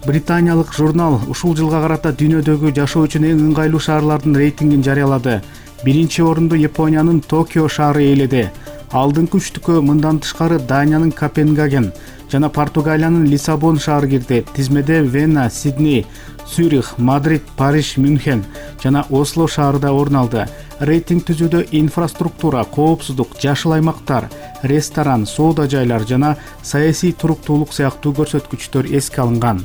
Британиялык журнал ушул жылга карата дүйнөдөгү жашоо үчүн эң ыңгайлуу шаарлардын рейтингин жарыялады. Биринчи орунду Япониянын Токио шаары ээледи. Алдыңкы үчтүккө мындан тышкары Даниянын Копенгаген жана Португалиянын Лиссабон шаары кирди. Тизмеде Вена, Сидней, Цюрих, Мадрид, Париж, Мюнхен жана Осло шаары да орун алды. Рейтинг түзүүдө инфраструктура, коопсуздук, жашыл аймактар, ресторан, соода жайлар жана саясий туруктуулук сыяктуу көрсөткүчтөр эске алынган.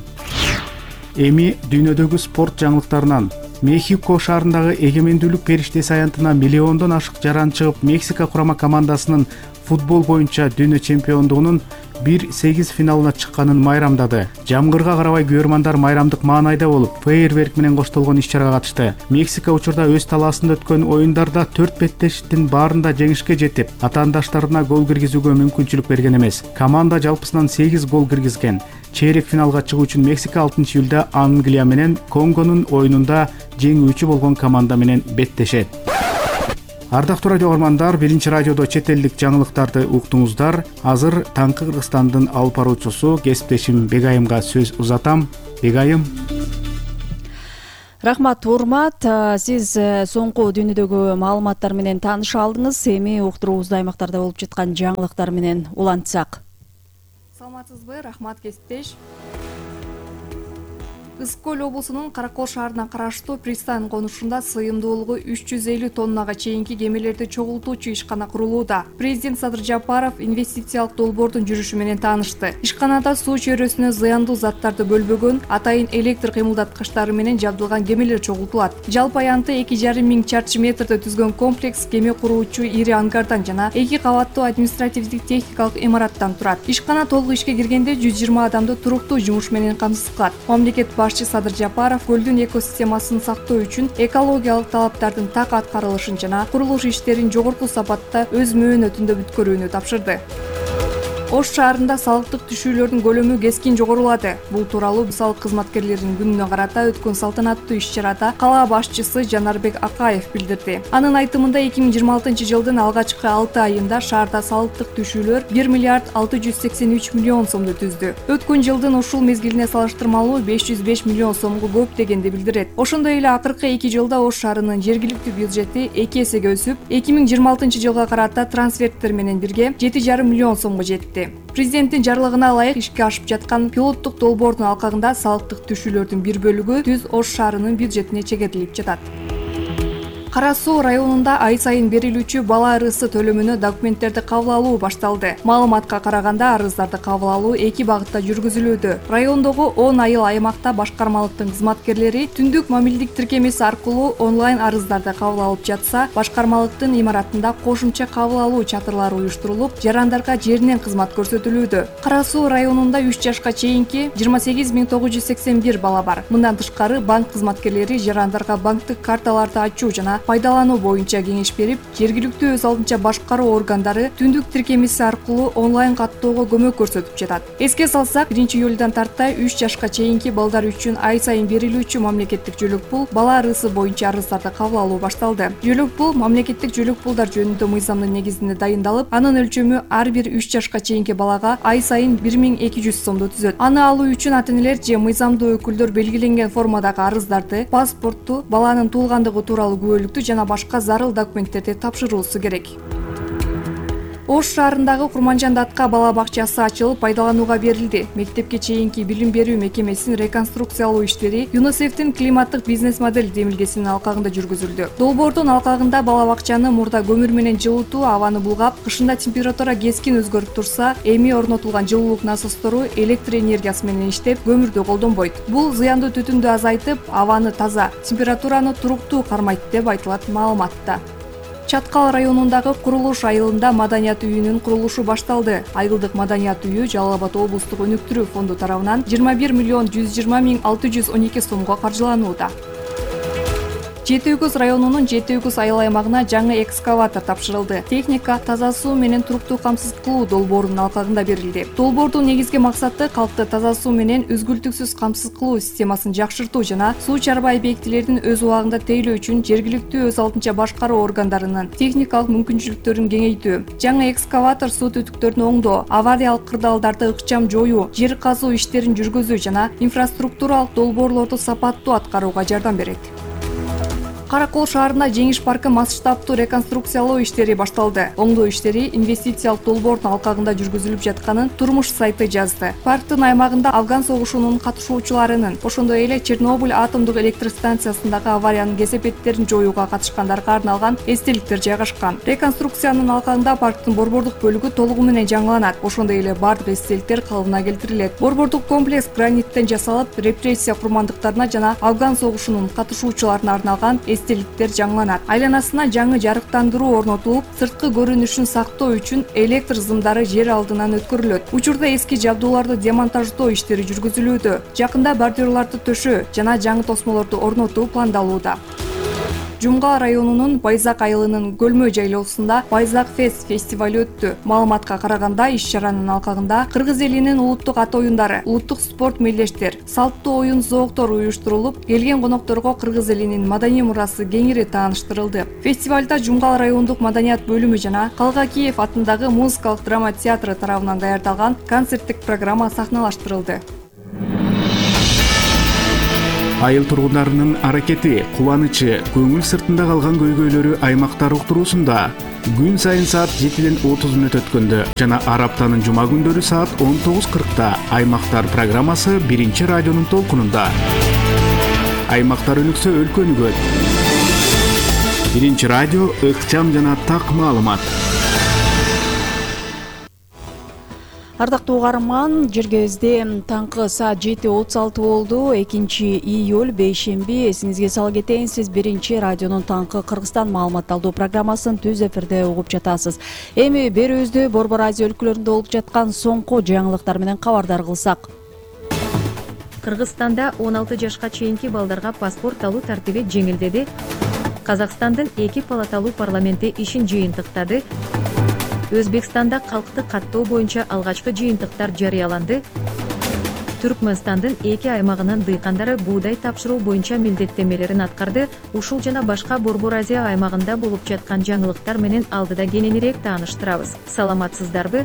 Эми дүйнөдөгү спорт жаңылыктарынан. Мехико шаарындагы эгемендүүлүк периштеси аянтына миллиондон ашык жаран чыгып, Мексика курама командасынын футбол боюнча дүйнө чемпиондугунун 1-8 финалына чыкканын майрамдады. Жамгырга карабай көрмандар майрамдык маанайда болуп, фейерверк менен коштолгон иш-чарага катышты. Мексика учурда өз талаасында өткөн оюндарда 4 беттештин баарында жеңишке жетип, атаандаштарына гол киргизүүгө мүмкүнчүлүк берген эмес. Команда жалпысынан 8 гол киргизген. Чейрек финалга чыгуу үчүн Мексика 6-июлда Англия менен Конгонун оюнунда жеңүүчү болгон команда менен беттешет. Ардактуу радио көрөрмандар, биринчи радиодо чет элдик жаңылыктарды уктуңуздар. Азыр таңкы Кыргызстандын алып баруучусу кесиптешим Бегайымга сөз узатам. Бегайым. Рахмат, урмат. Сиз соңку дүйнөдөгү маалыматтар менен тааныша алдыңыз. Эми уктуруубузду аймактарда болуп жаткан жаңылыктар менен улантсак. Саламатсызбы? Рахмат, кесиптеш. Ысык Көл облусунун Каракол шаарына караштуу пристань конушунда сыйымдуулугу 350 тоннага чейинки кемелерди чогултуучу ишкана курулууда. Президент Садыр Жапаров инвестициялык долбоордун жүрүшү менен таанышты. Ишканада суу чөйрөсүнө зыяндуу заттарды бөлбөгөн, атайын электр кыймылдаткычтары менен жабдылган кемелер чогултулат. Жалпы аянты 2,5 миң чарчы метрди түзгөн комплекс кеме куруучу ири ангардан жана 2 кабаттуу административдик техникалык имараттан турат. Ишкана толук ишке киргенде 120 адамды туруктуу жумуш менен камсыз кылат. Мамлекет башчы Садыр Жапаров көлдүн экосистемасын сактоо үчүн экологиялык талаптардын так аткарылышын жана курулуш иштерин жогорку сапатта өз мөөнөтүндө бүткөрүүнү тапшырды. Ош шаарында салыктык түшүүлөрдүн көлөмү кескин жогорулады. Бул тууралуу салык кызматкерлеринин күнүнө карата өткөн салтанаттуу иш-чарада кала башчысы Жанарбек Акаев билдирди. Анын айтымында 2026 жылдын алгачкы 6 айында шаарда салыктык түшүүлөр 1 миллиард 683 миллион сомду түздү. Өткөн жылдын ушул мезгилине салыштырмалуу 505 миллион сомго көп дегенди билдирет. Ошондой эле акыркы 2 жылда Ош шаарынын жергиликтүү бюджети 2 эсеге өсүп, 2026 жылга карата трансферттер менен бирге 7,5 миллион сомго жетти. Президенттин жарлыгына ылайык ишке ашып жаткан пилоттук долбоордун алкагында салыктык түшүүлөрдүн бир бөлүгү түз Ош шаарынын бюджетине чегерилип жатат. Кара Суу районунда ай сайын берилүүчү бала арызы төлөмүнө документтерди кабыл алуу башталды. Маалыматка караганда арыздарды кабыл алуу 2 багытта жүргүзүлүүдө. Райондогу 10 айыл аймакта башкармалыктын кызматкерлери түндүк мамилдик тиркемеси аркылуу онлайн арыздарды кабыл алып жатса, башкармалыктын имаратында кошумча кабыл алуу чатырлары уюштурулуп, жарандарга жеринен кызмат көрсөтүлүүдө. Кара Суу районунда 3 жашка чейинки 28981 бала бар. Мындан тышкары банк кызматкерлери жарандарга банктык карталарды ачуу жана пайдалануу боюнча кеңеш берип, жергиликтүү өз алдынча башкаруу органдары түндүк тиркемеси аркылуу онлайн каттоого көмөк көрсөтүп жатат. Эске салсак, 1-июлдан тартай 3 жашка чейинки балдар үчүн ай сайын берилүүчү мамлекеттик жөлөк пул бала арызы боюнча арыздарды кабыл алуу башталды. Жөлөк пул мамлекеттик жөлөк пулдар жөнүндө мыйзамдын негизинде дайындалып, анын өлчөмү ар бир 3 жашка чейинки балага ай сайын 1200 сомду түзөт. Аны алуу үчүн ата-энелер же мыйзамдуу өкүлдөр белгиленген формадагы арыздарды, паспортту, баланын туулгандыгы тууралуу күбөлүктү жана башка зарыл документтерди тапшыруусу керек. Ош шаарындагы Курманжан Датка бала бакчасы ачылып пайдаланууга берилди. Мектепке чейинки билим берүү мекемесин реконструкциялоо иштери ЮНИСЕФтин климаттык бизнес модель демилгесинин алкагында жүргүзүлдү. Долбоордун алкагында бала бакчаны мурда көмүр менен жылытуу абаны булгап, кышында температура кескин өзгөрүп турса, эми орнотулган жылуулук насостору электр энергиясы менен иштеп, көмүрдү колдонбойт. Бул зыяндуу түтүндү азайтып, абаны таза, температураны туруктуу кармайт деп айтылат маалыматта. Чаткал районундагы Курулуш айылында маданият үйүнүн курулушу башталды. Айылдык маданият үйү Жалал Абад облустук өнүктүрүү фонду тарабынан 21 миллион 120 миң 612 сомго каржыланууда. Жети Үгүз районунун Жети Үгүз айыл аймагына жаңы экскаватор тапшырылды. Техника таза суу менен туруктуу камсыз кылуу долбоорунун алкагында берилди. Долбоордун негизги максаты калкты таза суу менен үзгүлтүксүз камсыз кылуу системасын жакшыртуу жана суу чарбай объектилердин өз убагында тейлөө үчүн жергиликтүү өз алдынча башкаруу органдарынын техникалык мүмкүнчүлүктөрүн кеңейтүү. Жаңы экскаватор суу түтүктөрүн оңдоо, авариялык кырдаалдарды ыкчам жоюу, жер казуу иштерин жүргүзүү жана инфраструктуралык долбоорлорду сапаттуу аткарууга жардам берет. Каракол шаарында Жеңиш паркы масштабтуу реконструкциялоо иштери башталды. Оңдоо иштери инвестициялык долбоордун алкагында жүргүзүлүп жатканын Турмуш сайты жазды. Парктын аймагында Афган согушунун катышуучуларынын, ошондой эле Чернобыль атомдук электр станциясындагы авариянын кесепеттерин жоюуга катышкандарга арналган эстеликтер жайгашкан. Реконструкциянын алкагында парктын борбордук бөлүгү толугу менен жаңыланат. Ошондой эле бардык эстеликтер калыбына келтирилет. Борбордук комплекс граниттен жасалып, репрессия курмандыктарына жана Афган согушунун катышуучуларына арналган эстеликтер жаңыланат. Айланасына жаңы жарыктандыруу орнотулуп, сырткы көрүнүшүн сактоо үчүн электр зымдары жер алдынан өткөрүлөт. Учурда эски жабдууларды демонтаждоо иштери жүргүзүлүүдө. Жакында бордюрларды төшөө жана жаңы тосмолорду орнотуу пландалууда. Жумгал районунун Байзак айылынын Көлмө жайлоосунда Байзак Фест фестиваль өттү. Маалыматка караганда, иш-чаранын алкагында кыргыз элинин улуттук ат оюндары, улуттук спорт мелдештер, салттуу оюн зооктор уюштурулуп, келген конокторго кыргыз элинин маданий мурасы кеңири тааныштырылды. Фестивалда Жумгал райондук маданият бөлүмү жана Калгакиев атындагы музыкалык драма театры тарабынан даярдалган концерттик программа сахналаштырылды. Айыл тургундарынын аракети, кубанычы, көңүл сыртында калган көйгөйлөрү аймактар уктуруусунда Күн сайын саат 7:30 өткөндө жана ар аптанын жума күндөрү саат 19:40 Аймактар программасы 1-радионун толкунунда. Аймактар өнүксө өлкө өнүгөт. 1-радио ыкчам жана так маалымат. Ардактуу угарман, жергебизде таңкы саат 7:36 болду. 2-июль бейшемби. Эсиңизге сала кетейин, сиз 1-радионун таңкы Кыргызстан маалымат алуу программасын түз эфирде угуп жатасыз. Эми берүүбүздү Борбор Азия өлкөлөрүндө болуп жаткан соңку жаңылыктар менен кабардар кылсак. Кыргызстанда 16 жашка чейинки балдарга паспорт алуу тартиби жеңилдеди. Казакстандын 2 палаталуу парламенти ишин жыйынтыктады. Өзбекстанда калкты каттоо боюнча алгачкы жыйынтыктар жарыяланды. Түркмөнстандын 2 аймагынын дыйкандары буудай тапшыруу боюнча милдеттенмелерин аткарды. Ушул жана башка Борбор Азия аймагында болуп жаткан жаңылыктар менен алдыда кененирээк тааныштырабыз. Саламатсыздарбы?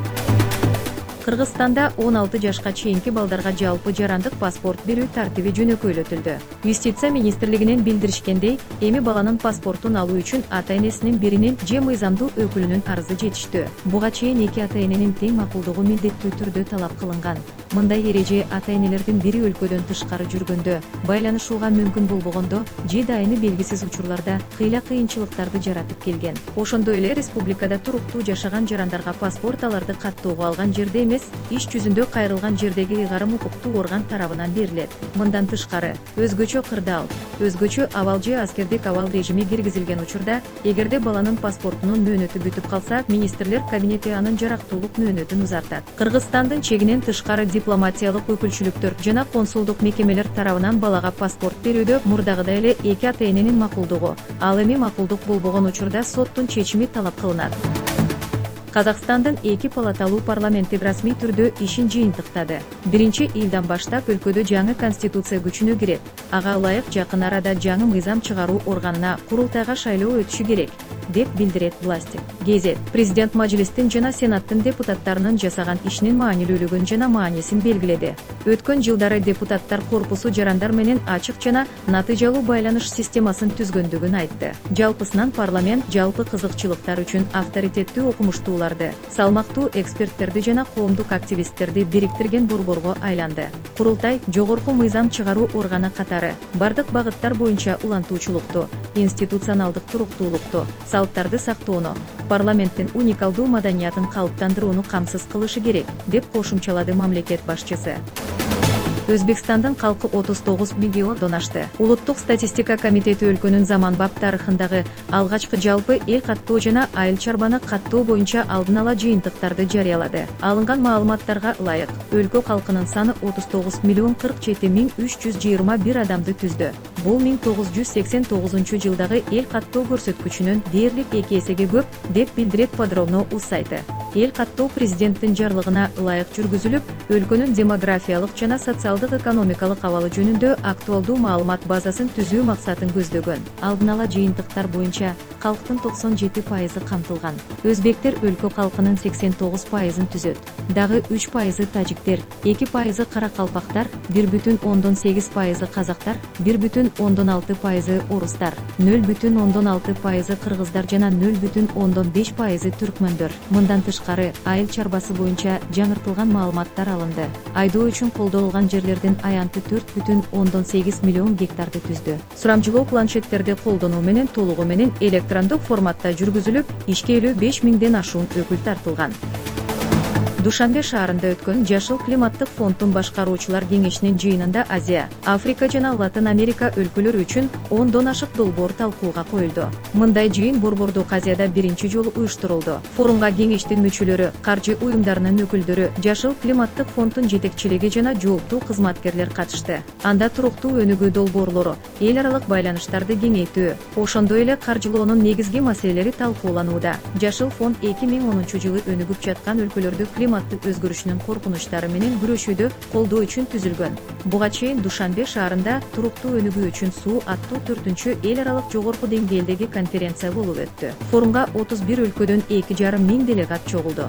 Кыргызстанда 16 жашка чейинки балдарга жалпы жарандык паспорт берүү тартиби жөнөкөйлөтүлдү. Юстиция министрлигинен билдиришкендей, эми баланын паспортун алуу үчүн ата-энесинин биринин же мыйзамдуу өкүлүнүн арызы жетиштүү. Буга чейин 2 ата-эненин тең макулдугу милдеттүү түрдө талап кылынган. Мындай эреже ата-энелердин бири өлкөдөн тышкары жүргөндө, байланышууга мүмкүн болбогондо же дайыны белгисиз учурларда кыйынчылыктарды жаратып келген. Ошондой эле республикада туруктуу жашаган жарандарга паспорт аларды каттоого алган жерде эмес, иш жүзүндө кайрылган жердеги ыйгарым укуктуу орган тарабынан берилет. Мындан тышкары, өзгөчө кырдаал, өзгөчө абал же аскердик абал режими киргизилген учурда, эгерде баланын паспортунун мөөнөтү бүтүп калса, министрлер кабинети анын жарактуулук мөөнөтүн узартат. Кыргызстандын чегинен тышкары дипломатиялык өкүлчүлүктөр жана консулдук мекемелер тарабынан балага паспорт берүүдө мурдагыдай эле 2 ата-эненин макулдугу, ал эми макулдук болбогон учурда соттун чечими талап кылынат. Казакстандын 2 палаталуу парламенти расмий түрдө ишин жыйынтыктады. 1-июлдан баштап өлкөдө жаңы конституция күчүнө кирет. Ага ылайык жакын арада жаңы мыйзам чыгаруу органына курултайга шайлоо өтүшү керек, деп билдирет власти. Гезет президент Мажлистин жана Сенаттын депутаттарынын жасаган ишинин маанилүүлүгүн жана маанисин белгиледи. Өткөн жылдары депутаттар корпусу жарандар менен ачык жана натыйжалуу байланыш системасын түзгөндүгүн айтты. Жалпысынан парламент жалпы кызыкчылыктар үчүн авторитеттүү окумуштууларды, салмактуу эксперттерди жана коомдук активисттерди бириктирген борборго айланды. Курултай жогорку мыйзам чыгаруу органы катары бардык багыттар боюнча улантуучулукту, институционалдык туруктуулукту, салттарды сактоону, парламенттин уникалдуу маданиятын калыптандырууну камсыз кылышы керек, деп кошумчалады мамлекет башчысы. Өзбекстандын калкы 39 миллиондон ашты. Улуттук статистика комитети өлкөнүн заманбап тарыхындагы алгачкы жалпы эл каттоо жана айыл чарбаны каттоо боюнча алдын ала жыйынтыктарды жарыялады. Алынган маалыматтарга ылайык, өлкө калкынын саны 39 миллион 47 миң 321 адамды түздү. Бул 1989 жылдагы эл каттоо көрсөткүчүнөн дээрлик 2 эсеге көп, деп билдирет Подробно.uz сайты. Эл каттоо президенттин жарлыгына ылайык жүргүзүлүп, өлкөнүн демографиялык жана социалдык экономикалык абалы жөнүндө актуалдуу маалымат базасын түзүү максатын көздөгөн. Алдын ала жыйынтыктар боюнча калктын 97% камтылган. Өзбектер өлкө калкынын 89%-ын түзөт. Дагы 3% тажиктер, 2% каракалпактар, 1,8% казактар, 1,6% орустар, 0,6% кыргыздар жана 0,5% түркмөндөр. Мындан тышкары, айыл чарбасы боюнча жаңыртылган маалыматтар алынды. Айдоо үчүн колдонулган жерлердин аянты 4,8 миллион гектарды түздү. Сурамжылоо планшеттерди колдонуу менен толугу менен электрондук форматта жүргүзүлүп, ишкелүү 5 миңден ашуун өкүл тартылган. Душанбе шаарында өткөн Жашыл климаттык фонддун башкаруучулар кеңешинин жыйынында Азия, Африка жана Латын Америка өлкөлөрү үчүн 10дон ашык долбоор талкууга коюлду. Мындай жыйын Борбордук Азияда биринчи жолу уюштурулду. Форумга кеңештин мүчөлөрү, каржы уюмдарынын өкүлдөрү, Жашыл климаттык фонддун жетекчилиги жана жооптуу кызматкерлер катышты. Анда туруктуу өнүгүү долбоорлору, эл аралык байланыштарды кеңейтүү, ошондой эле каржылоонун негизги маселелери талкууланууда. Жашыл фонд 2010 жылы өнүгүп жаткан өлкөлөрдү климаттын өзгөрүшүнүн коркунучтары менен күрөшүүдө колдоо үчүн түзүлгөн. Буга чейин Душанбе шаарында туруктуу өнүгүү үчүн суу аттуу 4-чү эл аралык жогорку деңгээлдеги конференция болуп өттү. Форумга 31 өлкөдөн 2,5 миң делегат чогулду.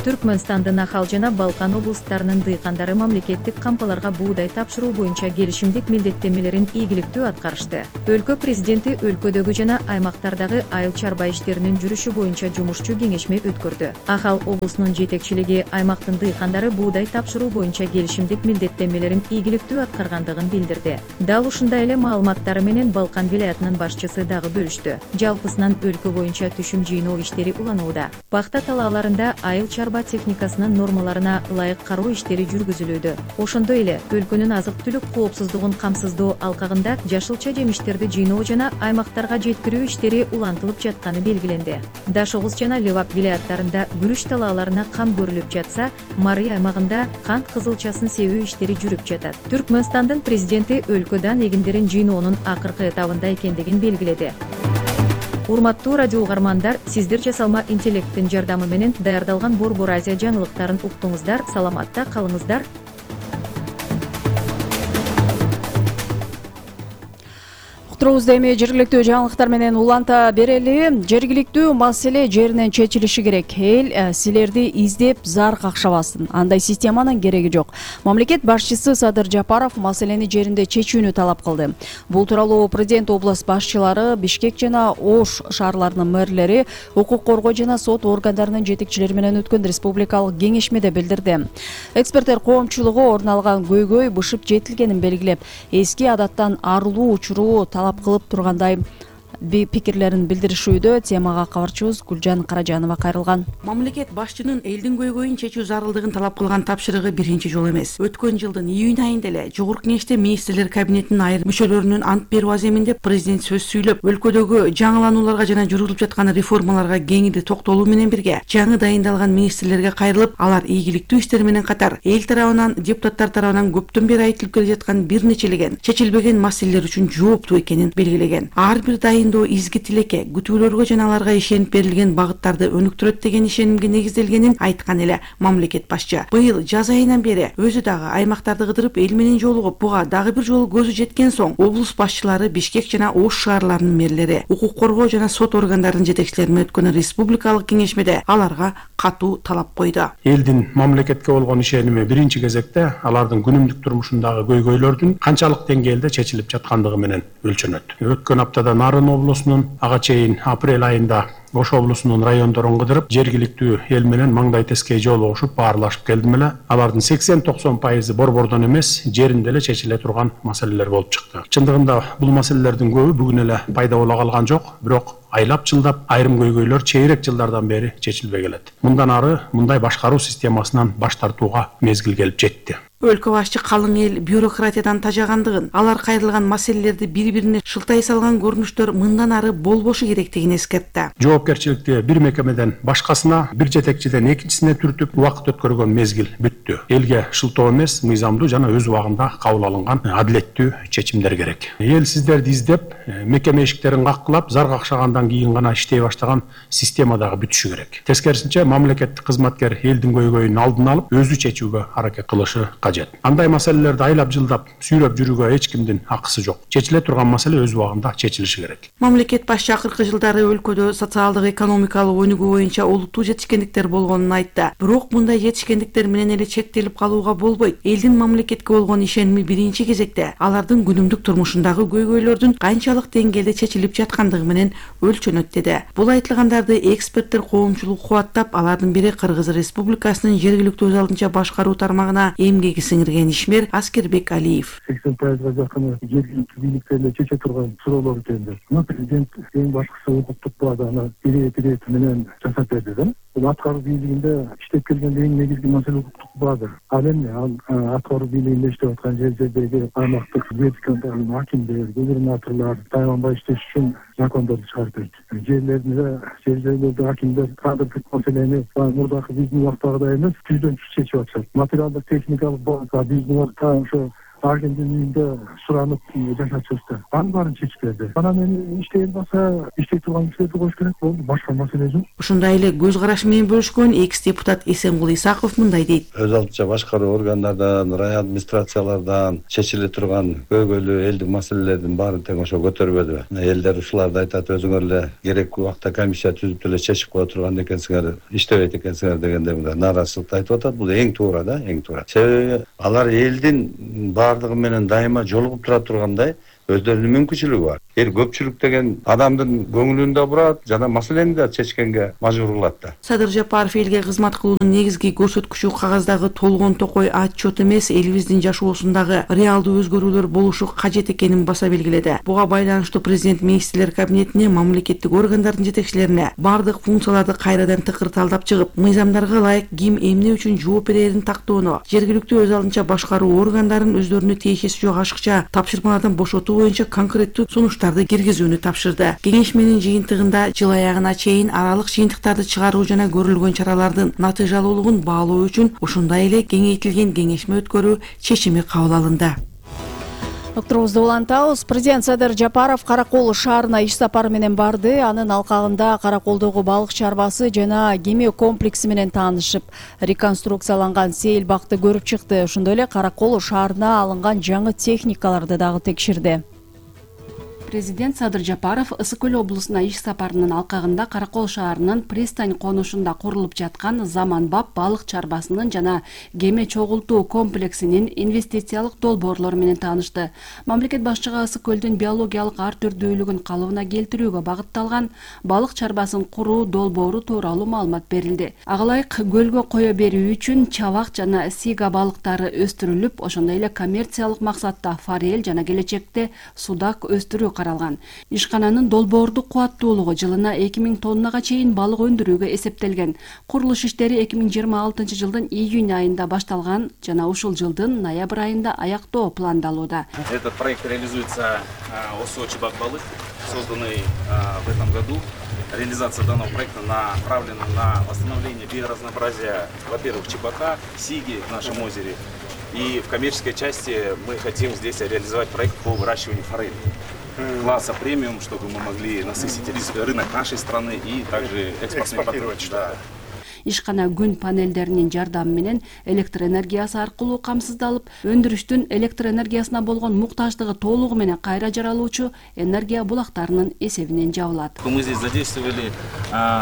Түркмөнстандын Ахал жана Балкан облустарынын дыйкандары мамлекеттик кампаларга буудай тапшыруу боюнча келишимдик милдеттенмелерин ийгиликтүү аткарышты. Өлкө президенти өлкөдөгү жана аймактардагы айыл чарба иштеринин жүрүшү боюнча жумушчу кеңешме өткөрдү. Ахал облусунун жетекчилиги аймактын дыйкандары буудай тапшыруу боюнча келишимдик милдеттенмелерин ийгиликтүү аткаргандыгын билдирди. Дал ушундай эле маалыматтары менен Балкан вилаятынын башчысы дагы бөлүштү. Жалпысынан өлкө боюнча түшүм жыйноо иштери уланууда. Пахта талааларында айыл чарба техникасынын нормаларына ылайык кароо иштери жүргүзүлүүдө. Ошондой эле өлкөнүн азык-түлүк коопсуздугун камсыздоо алкагында жашылча жемиштерди жыйноо жана аймактарга жеткирүү иштери улантылып жатканы белгиленди. Даш Оғыз жана Левак вилаяттарында күрүч талааларына кам көрүлүп жатса, Мари аймагында кант кызылчасын себүү иштери жүрүп жатат. Түркмөнстандын президенти өлкөдөн эгиндерин жыйноонун акыркы этабында экендигин белгиледи. Урматтуу радио угармандар, сиздер жасалма интеллекттин жардамы менен даярдалган Борбор Азия жаңылыктарын уктуңуздар, саламатта калыңыздар. Уктуруубузду эми жергиликтүү жаңылыктар менен уланта берели. Жергиликтүү маселе жеринен чечилиши керек. Эл силерди издеп зар какшабасын. Андай системанын кереги жок. Мамлекет башчысы Садыр Жапаров маселени жеринде чечүүнү талап кылды. Бул тууралуу президент област башчылары, Бишкек жана Ош шаарларынын мэрлери, укук коргоо жана сот органдарынын жетекчилери менен өткөн республикалык кеңешмеде билдирди. Эксперттер коомчулугу орун алган көйгөй бышып жетилгенин белгилеп, эски адаттан арылуу учуру талап кылып тургандай пикирлерин билдиришүүдө. Темага кабарчыбыз Гүлжан Каражанова кайрылган. Мамлекет башчынын элдин көйгөйүн чечүү зарылдыгын талап кылган тапшырыгы биринчи жолу эмес. Өткөн жылдын июнь айында эле Жогорку Кеңеште министрлер кабинетинин айрым мүчөлөрүнүн ант берүү аземинде президент сөз сүйлөп, өлкөдөгү жаңыланууларга жана жүргүзүлүп жаткан реформаларга кеңири токтолуу менен бирге жаңы дайындалган министрлерге кайрылып, алар ийгиликтүү иштер менен катар эл тарабынан, депутаттар тарабынан көптөн бери айтылып келе жаткан бир нечелеген чечилбеген маселелер үчүн жооптуу экенин белгилеген. Ар бир изги тилекке, күтүүлөргө жана аларга ишенип берилген багыттарды өнүктүрөт деген ишенимге негизделгенин айткан эле мамлекет башчы. Быйыл жаз айынан бери өзү дагы аймактарды кыдырып эл менен жолугуп, буга дагы бир жолу көзү жеткен соң облус башчылары, Бишкек жана Ош шаарларынын мэрлери, укук коргоо жана сот органдарынын жетекчилери менен өткөн республикалык кеңешмеде аларга катуу талап койду. Элдин мамлекетке болгон ишеними биринчи кезекте алардын күнүмдүк турмушундагы көйгөйлөрдүн канчалык деңгээлде чечилип жаткандыгы менен өлчөнөт. Өткөн аптада Нарын облусунун, ага чейин апрель айында Ош облусунун райондорун кыдырып, жергиликтүү эл менен маңдай тескей жолугушуп, баарлашып келдим эле. Алардын 80-90% борбордон эмес, жеринде эле чечиле турган маселелер болуп чыкты. Чындыгында бул маселелердин көбү бүгүн эле пайда боло калган жок, бирок айлап жылдап айрым көйгөйлөр чейрек жылдардан бери чечилбей келет. Мындан ары мындай башкаруу системасынан баш тартууга мезгил келип жетти. Өлкө башчы калың эл бюрократиядан тажагандыгын, алар кайрылган маселелерди бири-бирине шылтай салган көрүнүштөр мындан ары болбошу керектигин эскертти. Жоопкерчиликти бир мекемеден башкасына, бир жетекчиден экинчисине түртүп убакыт өткөргөн мезгил бүттү. Элге шылтоо эмес, мыйзамдуу жана өз убагында кабыл алынган адилеттүү чечимдер керек. Эл сиздерди издеп, мекеме эшиктерин каккылап, зар какшагандан кийин гана иштей баштаган система дагы бүтүшү керек. Тескерисинче, мамлекеттик кызматкер элдин көйгөйүн алдын алып, өзү чечүүгө аракет кылышы кажет. Андай маселелерди айлап жылдап сүйрөп жүрүүгө эч кимдин акысы жок. Чечиле турган маселе өз убагында чечилиши керек. Мамлекет башчы акыркы жылдары өлкөдө социалдык экономикалык өнүгүү боюнча олуттуу жетишкендиктер болгонун айтты. Бирок мындай жетишкендиктер менен эле чектелип калууга болбойт. Элдин мамлекетке болгон ишеними биринчи кезекте алардын күнүмдүк турмушундагы көйгөйлөрдүн канчалык деңгээлде чечилип жаткандыгы менен өлчөнөт деди. Бул айтылгандарды эксперттер коомчулук кубаттап, алардын бири Кыргыз Республикасынын жергиликтүү өз алдынча башкаруу тармагына эмгеги сиңирген ишмер Аскербек Алиев. 80%-га жакыны жергиликтүү бийликтерде чече турган суроолор экен. Президент эң башкысы укуктук базаны бири менен жасап берди да. Бул аткаруу бийлигинде иштеп келгенде эң негизги маселе укуктук база. Ал эми аткаруу бийлигинде иштеп аткан жердеги аймактык вертикалдуу акимдер, губернаторлор тайганбай иштеш үчүн закондорду чыгарып берди. Жерлердеги акимдер кадрлык маселени мурдакы биздин убактагыдай эмес, түздөн түз чечип атышат. Материалдык техникалык база биздин убакта ошо ар кимдин үйүндө суранып жашачубуз да. Анын баарын чечип берди. Анан эми иштеген болсо иштей турган кишилерди коюш керек болду. Башка маселе жок. Ушундай эле көз карашы менен бөлүшкөн экс депутат Эсенгул Исаков мындай дейт. Өз алдынча башкаруу органдардан, район администрациялардан чечиле турган көйгөйлүү элдик маселелердин баарын тең ошо көтөрбөдү. Элдер ушуларды айтат, өзүңөр эле керектүү убакта комиссия түзүп эле чечип кое турган экенсиңер, иштебейт экенсиңер дегенде мындай нааразычылыкты айтып атат. Бул эң туура да, эң туура. Себеби алар элдин баардыгы менен дайыма жолугуп тура тургандай өздөрүнүн мүмкүнчүлүгү бар. Көпчүлүк деген адамдын көңүлүн да бурат жана маселени да чечкенге мажбур кылат да. Садыр Жапаров элге кызмат кылуунун негизги көрсөткүчү кагаздагы толгон токой отчет эмес, элибиздин жашоосундагы реалдуу өзгөрүүлөр болушу кажет экенин баса белгиледи. Буга байланыштуу президент министрлер кабинетине, мамлекеттик органдардын жетекчилерине бардык функцияларды кайрадан тыкырталдап чыгып, мыйзамдарга ылайык ким эмне үчүн жооп берерин тактоону, жергиликтүү өз алдынча башкаруу органдарын өздөрүнө тиешеси жок ашыкча тапшырмалардан бошотуу боюнча конкреттүү сунуштарды киргизүүнү тапшырды. Кеңешменин жыйынтыгында жыл аягына чейин аралык жыйынтыктарды чыгаруу жана көрүлгөн чаралардын натыйжалуулугун баалоо үчүн ошондой эле кеңейтилген кеңешме өткөрүү чечими кабыл алынды. Уктуруубузду улантабыз. Президент Садыр Жапаров Каракол шаарына иш сапары менен барды. Анын алкагында Караколдогу балык чарбасы жана кеме комплекси менен таанышып, реконструкцияланган сейил бакты көрүп чыкты. Ошондой эле Каракол шаарына алынган жаңы техникаларды дагы текшерди. Президент Садыр Жапаров Ысык Көл облусуна иш сапарынын алкагында Каракол шаарынын пристань конушунда курулуп жаткан заманбап балык чарбасынын жана кеме чогултуу комплексинин инвестициялык долбоорлору менен таанышты. Мамлекет башчыга Ысык Көлдүн биологиялык ар түрдүүлүгүн калыбына келтирүүгө багытталган балык чарбасын куруу долбоору тууралуу маалымат берилди. Ага ылайык көлгө кое берүү үчүн чабак жана сига балыктары өстүрүлүп, ошондой эле коммерциялык максатта форель жана келечекте судак өстүрүү каралган. Ишкананын долбоордук кубаттуулугу жылына 2000 тоннага чейин балык өндүрүүгө эсептелген. Курулуш иштери 2026 жылдын июнь айында башталган жана ушул жылдын ноябрь айында аяктоо пландалууда. Этот проект реализуется ОСО «Чебак-Балык», созданный в этом году. Реализация данного проекта направлена на восстановление биоразнообразия, во-первых, чебака, сиги в нашем озере. И в коммерческой части мы хотим здесь реализовать проект по выращиванию форели класса премиум, чтобы мы могли насытить рынок нашей страны и также экспортировать. Да. Ишкана күн панелдеринин жардамы менен электр энергиясы аркылуу камсыздалып, өндүрүштүн электр энергиясына болгон муктаждыгы толугу менен кайра жаралуучу энергия булактарынын эсебинен жабылат. Мы здесь задействовали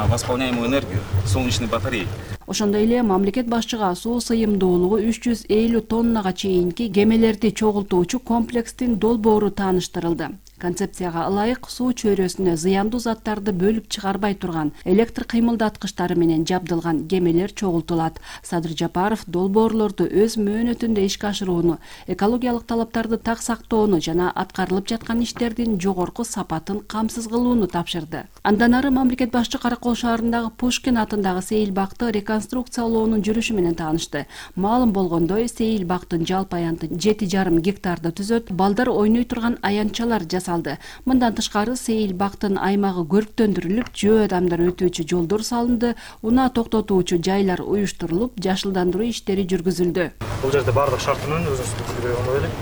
восполняемую энергию солнечной батареи. Ошондой эле мамлекет башчыга суу сыйымдуулугу 350 тоннага чейинки кемелерди чогултуучу комплекстин долбоору тааныштырылды. Концепцияга ылайык суу чөйрөсүнө зыяндуу заттарды бөлүп чыгарбай турган электр кыймылдаткычтары менен жабдылган кемелер чогултулат. Садыр Жапаров долбоорлорду өз мөөнөтүндө ишке ашырууну, экологиялык талаптарды так сактоону жана аткарылып жаткан иштердин жогорку сапатын камсыз кылууну тапшырды. Андан ары мамлекет башчы Каракол шаарындагы Пушкин атындагы сейил бакты реконструкциялоонун жүрүшү менен таанышты. Маалым болгондой, сейил бактын жалпы аянты 7,5 гектарды түзөт, балдар ойной турган аянтчалар Мындан тышкары сейил бактын аймагы көрктөндүрүлүп, жөө адамдар өтүүчү жолдор салынды, унаа токтотуучу жайлар уюштурулуп, жашылдандыруу иштери жүргүзүлдү. Бул жерде бардык шартынын өзүнүн көргөнү элек.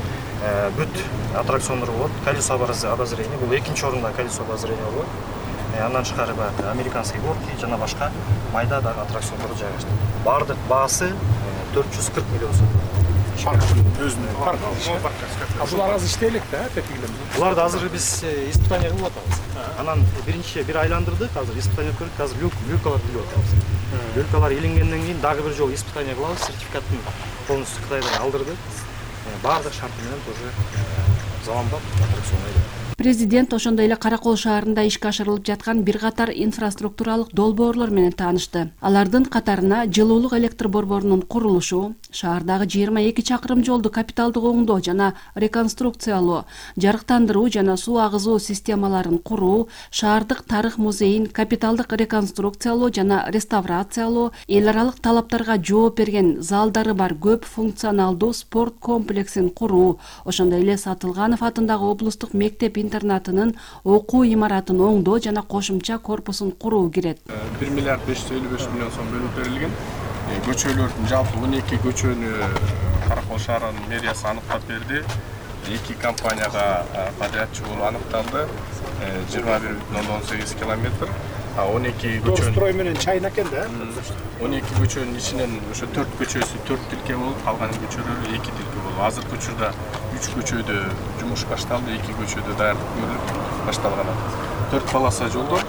Бүт аттракциондор болот. Колесо обозрения, бул экинчи орунда колесо обозрения болот. Андан тышкары американский горки жана башка майда дагы аттракциондор жайгаштырылды. Бардык баасы 440 миллион сом. Парктын өзүнүн парк. Булар азыр иштелек да, тепкилем. Буларды азыр биз испытание кылып атабыз. Анан биринчи бир айландырдык, азыр испытание көрдүк, азыр люкалар билип атабыз. Люкалар илингенден кийин дагы бир жолу испытание кылабыз, сертификатын полностью Кытайдан алдырдык. Бардык шарты менен тоже заманбап аттракцион. Президент ошондой эле Каракол шаарында ишке ашырылып жаткан бир катар инфраструктуралык долбоорлор менен таанышты. Алардын катарына жылуулук электр борборунун курулушу, шаардагы 22 чакырым жолду капиталдык оңдоо жана реконструкциялоо, жарыктандыруу жана суу агызуу системаларын куруу, шаардык тарых музейин капиталдык реконструкциялоо жана реставрациялоо, эл аралык талаптарга жооп берген залдары бар көп функционалдуу спорт комплексин куруу, ошондой эле Сатылганов атындагы облустук мектеп интернатынын окуу имаратын оңдоо жана кошумча корпусун куруу кирет. 1 миллиард 555 миллион сом бөлүп берилген. Көчөлөрдүн жалпы 12 көчөнү Каракол Каракол шаарынын мэриясы аныктап берди. 2 компанияга подрядчы болуп аныкталды. 21,18 километр. 12 көчөнүн строй менен чайын экен да. 12 көчөнүн ичинен ошо 4 көчөсү 4 тилке болуп, калган көчөлөр 2 тилке болуп. Азыркы учурда 3 көчөдө жумуш башталды, 2 көчөдө даярдык көрүлүп башталган. 4 полоса жолдор,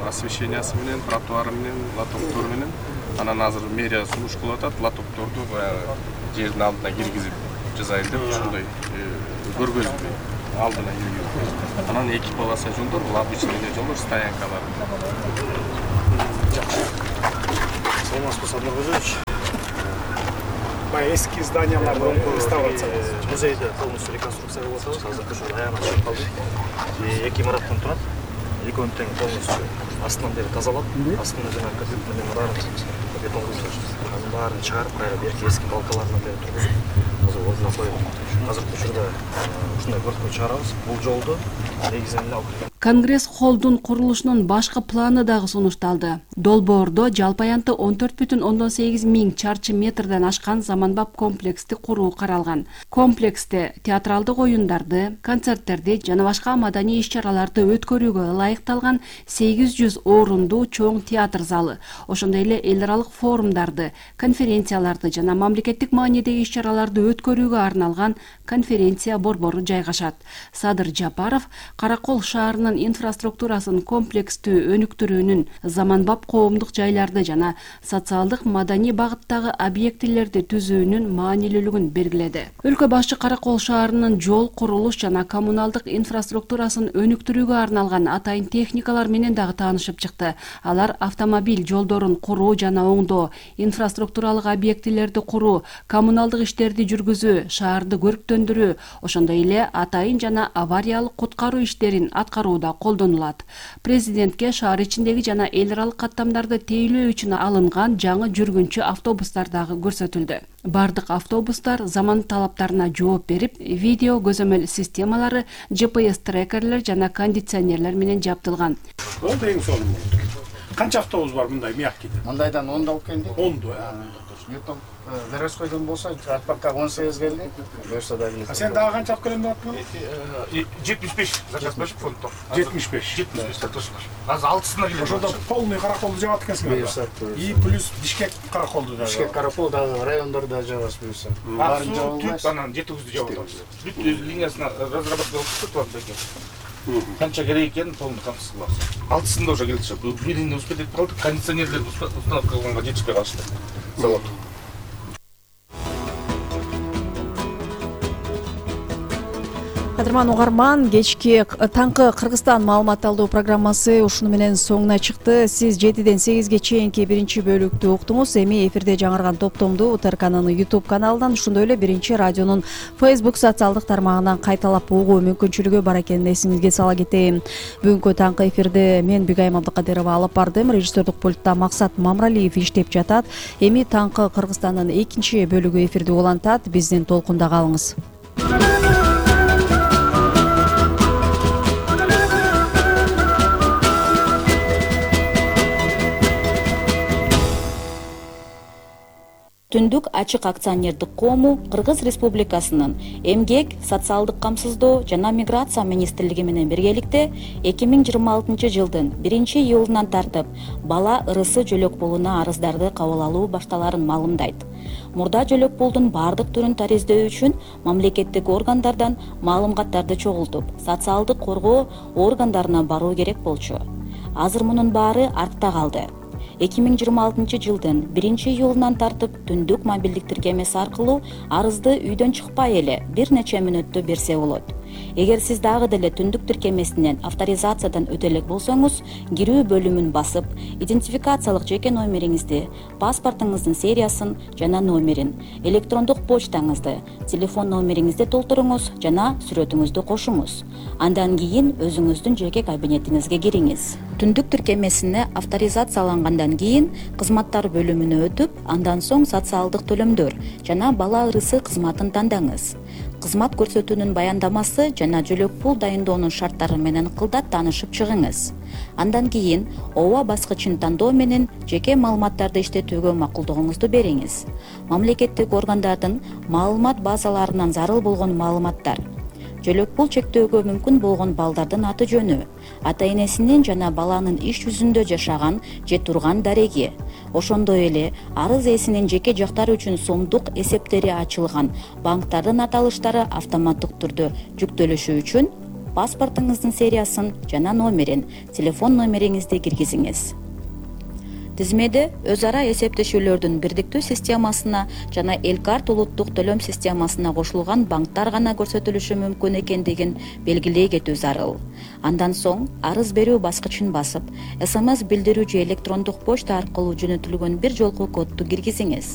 освещениясы менен, тротуары менен, лотоктор менен. Анан азыр мэрия сунуш кылып атат, лотокторду баягы жердин алдына киргизип жасайын деп ушундай көргөзүп алдына киргизип. Анан 2 полоса жолдор, бул обычный жолдор, стоянкалар. Саламатсызбы, Садыр Кожоевич. Эски зданияларды реставрация музейди полностью реконструкция кылып атабыз. Азыркы ошо аягына чыгып калды. 2 имараттан турат. Экөөнү тең полностью астынан бери тазалап, астына жана капит менен баарын бетон кылып, анын баарын чыгарып, кайра берки эски балкаларына бери тургузуп, азыр ордуна коюп. Азыркы учурда ушундай көркөй чыгарабыз. Бул жолду негизинен алып Конгресс холлдун курулушунун башкы планы дагы сунушталды. Долбоордо жалпы аянты 14,8 миң чарчы метрден ашкан заманбап комплексти куруу каралган. Комплексте театралдык оюндарды, концерттерди жана башка маданий иш-чараларды өткөрүүгө ылайыкталган 800 орундуу чоң театр залы, ошондой эле эл аралык форумдарды, конференцияларды жана мамлекеттик маанидеги иш-чараларды өткөрүүгө арналган конференция борбору жайгашат. Садыр Жапаров Каракол шаарынын инфраструктурасын комплекстүү өнүктүрүүнүн, заманбап коомдук жайларды жана социалдык маданий багыттагы объектилерди түзүүнүн маанилүүлүгүн белгиледи. Өлкө башчы Каракол шаарынын жол, курулуш жана коммуналдык инфраструктурасын өнүктүрүүгө арналган атайын техникалар менен дагы таанышып чыкты. Алар автомобиль жолдорун куруу жана оңдоо, инфраструктуралык объектилерди куруу, коммуналдык иштерди жүргүзүү, шаарды көрктөндүрүү, ошондой эле атайын жана авариялык куткаруу иштерин аткарууда колдонулат. Президентке шаар ичиндеги жана эл аралык каттамдарды тейлөө үчүн алынган жаңы жүргүнчү автобустар дагы көрсөтүлдү. Бардык автобустар заман талаптарына жооп берип, видео көзөмөл системалары, GPS трекерлер жана кондиционерлер менен жабдылган. Болду эң сонун. Канча автобус бар мындай мягкийде? Мындайдан 10 алып келди. 10. Ертең Верескойдон болса, Атпакка 18 келди. Берсе да келет. Сен дагы канча алып келем деп аттың? 75 заказ берип фунттар. 75. Азыр 6-сына келет. Ошондо полный Караколду жабат экенсиң. И плюс Бишкек Караколду да. Бишкек Каракол дагы райондордо жабасыз буюрса. Баарын жабылбай, анан 700-дү жабып атабыз. Бүт линиясына разработка кылып турат. Канча керек экенин полный камсыз кылабыз. 6-сында уже келди. Биринде успеть этип калдык, кондиционерлерди установка кылганга жетишпей калышты. Завод. Кадырман угарман, кечки таңкы Кыргызстан маалымат алуу программасы ушуну менен соңуна чыкты. Сиз 7-ден 8ге чейинки биринчи бөлүктү уктуңуз. Эми эфирде жаңырган топтомду УТРКнын YouTube каналынан, ошондой эле биринчи радионун Facebook социалдык тармагынан кайталап угуу мүмкүнчүлүгү бар экенин эсиңизге сала кетейин. Бүгүнкү таңкы эфирде мен Бигайым Абдыкадырова алып бардым. Режиссердик пультта Максат Мамралиев иштеп жатат. Эми таңкы Кыргызстандын экинчи бөлүгү эфирде улантат. Биздин толкунда калыңыз. Түндүк ачык акционердик коому Кыргыз Республикасынын Эмгек, социалдык камсыздоо жана миграция министрлиги менен биргеликте 2026 жылдын 1-июлунан тартып бала ырысы жөлөк пулуна арыздарды кабыл алуу башталарын маалымдайт. Мурда жөлөк пулдун бардык түрүн тариздөө үчүн мамлекеттик органдардан маалыматтарды чогултуп, социалдык коргоо органдарына баруу керек болчу. Азыр мунун баары артта калды. 2026 жылдын 1-июлунан тартып түндүк мобилдик тиркемеси аркылуу арызды үйдөн чыкпай эле бир нече мүнөттө берсе болот. Эгер сиз дагы деле түндүк тиркемесинен авторизациядан өтө элек болсоңуз, кирүү бөлүмүн басып, идентификациялык жеке номериңизди, паспортуңуздун сериясын жана номерин, электрондук почтаңызды, телефон номериңизди толтуруңуз жана сүрөтүңүздү кошуңуз. Андан кийин өзүңүздүн жеке кабинетиңизге кириңиз. Түндүк тиркемесине авторизациялангандан кийин кызматтар бөлүмүнө өтүп, андан соң социалдык төлөмдөр жана бала ырысы кызматын тандаңыз. кызмат көрсөтүүнүн баяндамасы жана жөлөк пул дайындоонун шарттары менен ыкылдап таанышып чыгыңыз. Андан кийин ооба баскычын тандоо менен жеке маалыматтарды иштетүүгө макулдугуңузду бериңиз. Мамлекеттик органдардын маалымат базаларынан зарыл болгон маалыматтар, жөлөк пул чектөөгө мүмкүн болгон балдардын аты жөнү, ата энесинин жана баланын иш жүзүндө жашаган же турган дареги, ошондой эле арыз ээсинин жеке жактары үчүн сомдук эсептери ачылган банктардын аталыштары автоматтык түрдө жүктөлүшү үчүн паспортуңуздун сериясын жана номерин, телефон номериңизди киргизиңиз. Тизмеде өз ара эсептешүүлөрдүн бирдиктүү системасына жана Элкарт улуттук төлөм системасына кошулган банктар гана көрсөтүлүшү мүмкүн экендигин белгилей кетүү зарыл. Андан соң арыз берүү баскычын басып, СМС билдирүү же электрондук почта аркылуу жөнөтүлгөн бир жолку кодду киргизиңиз.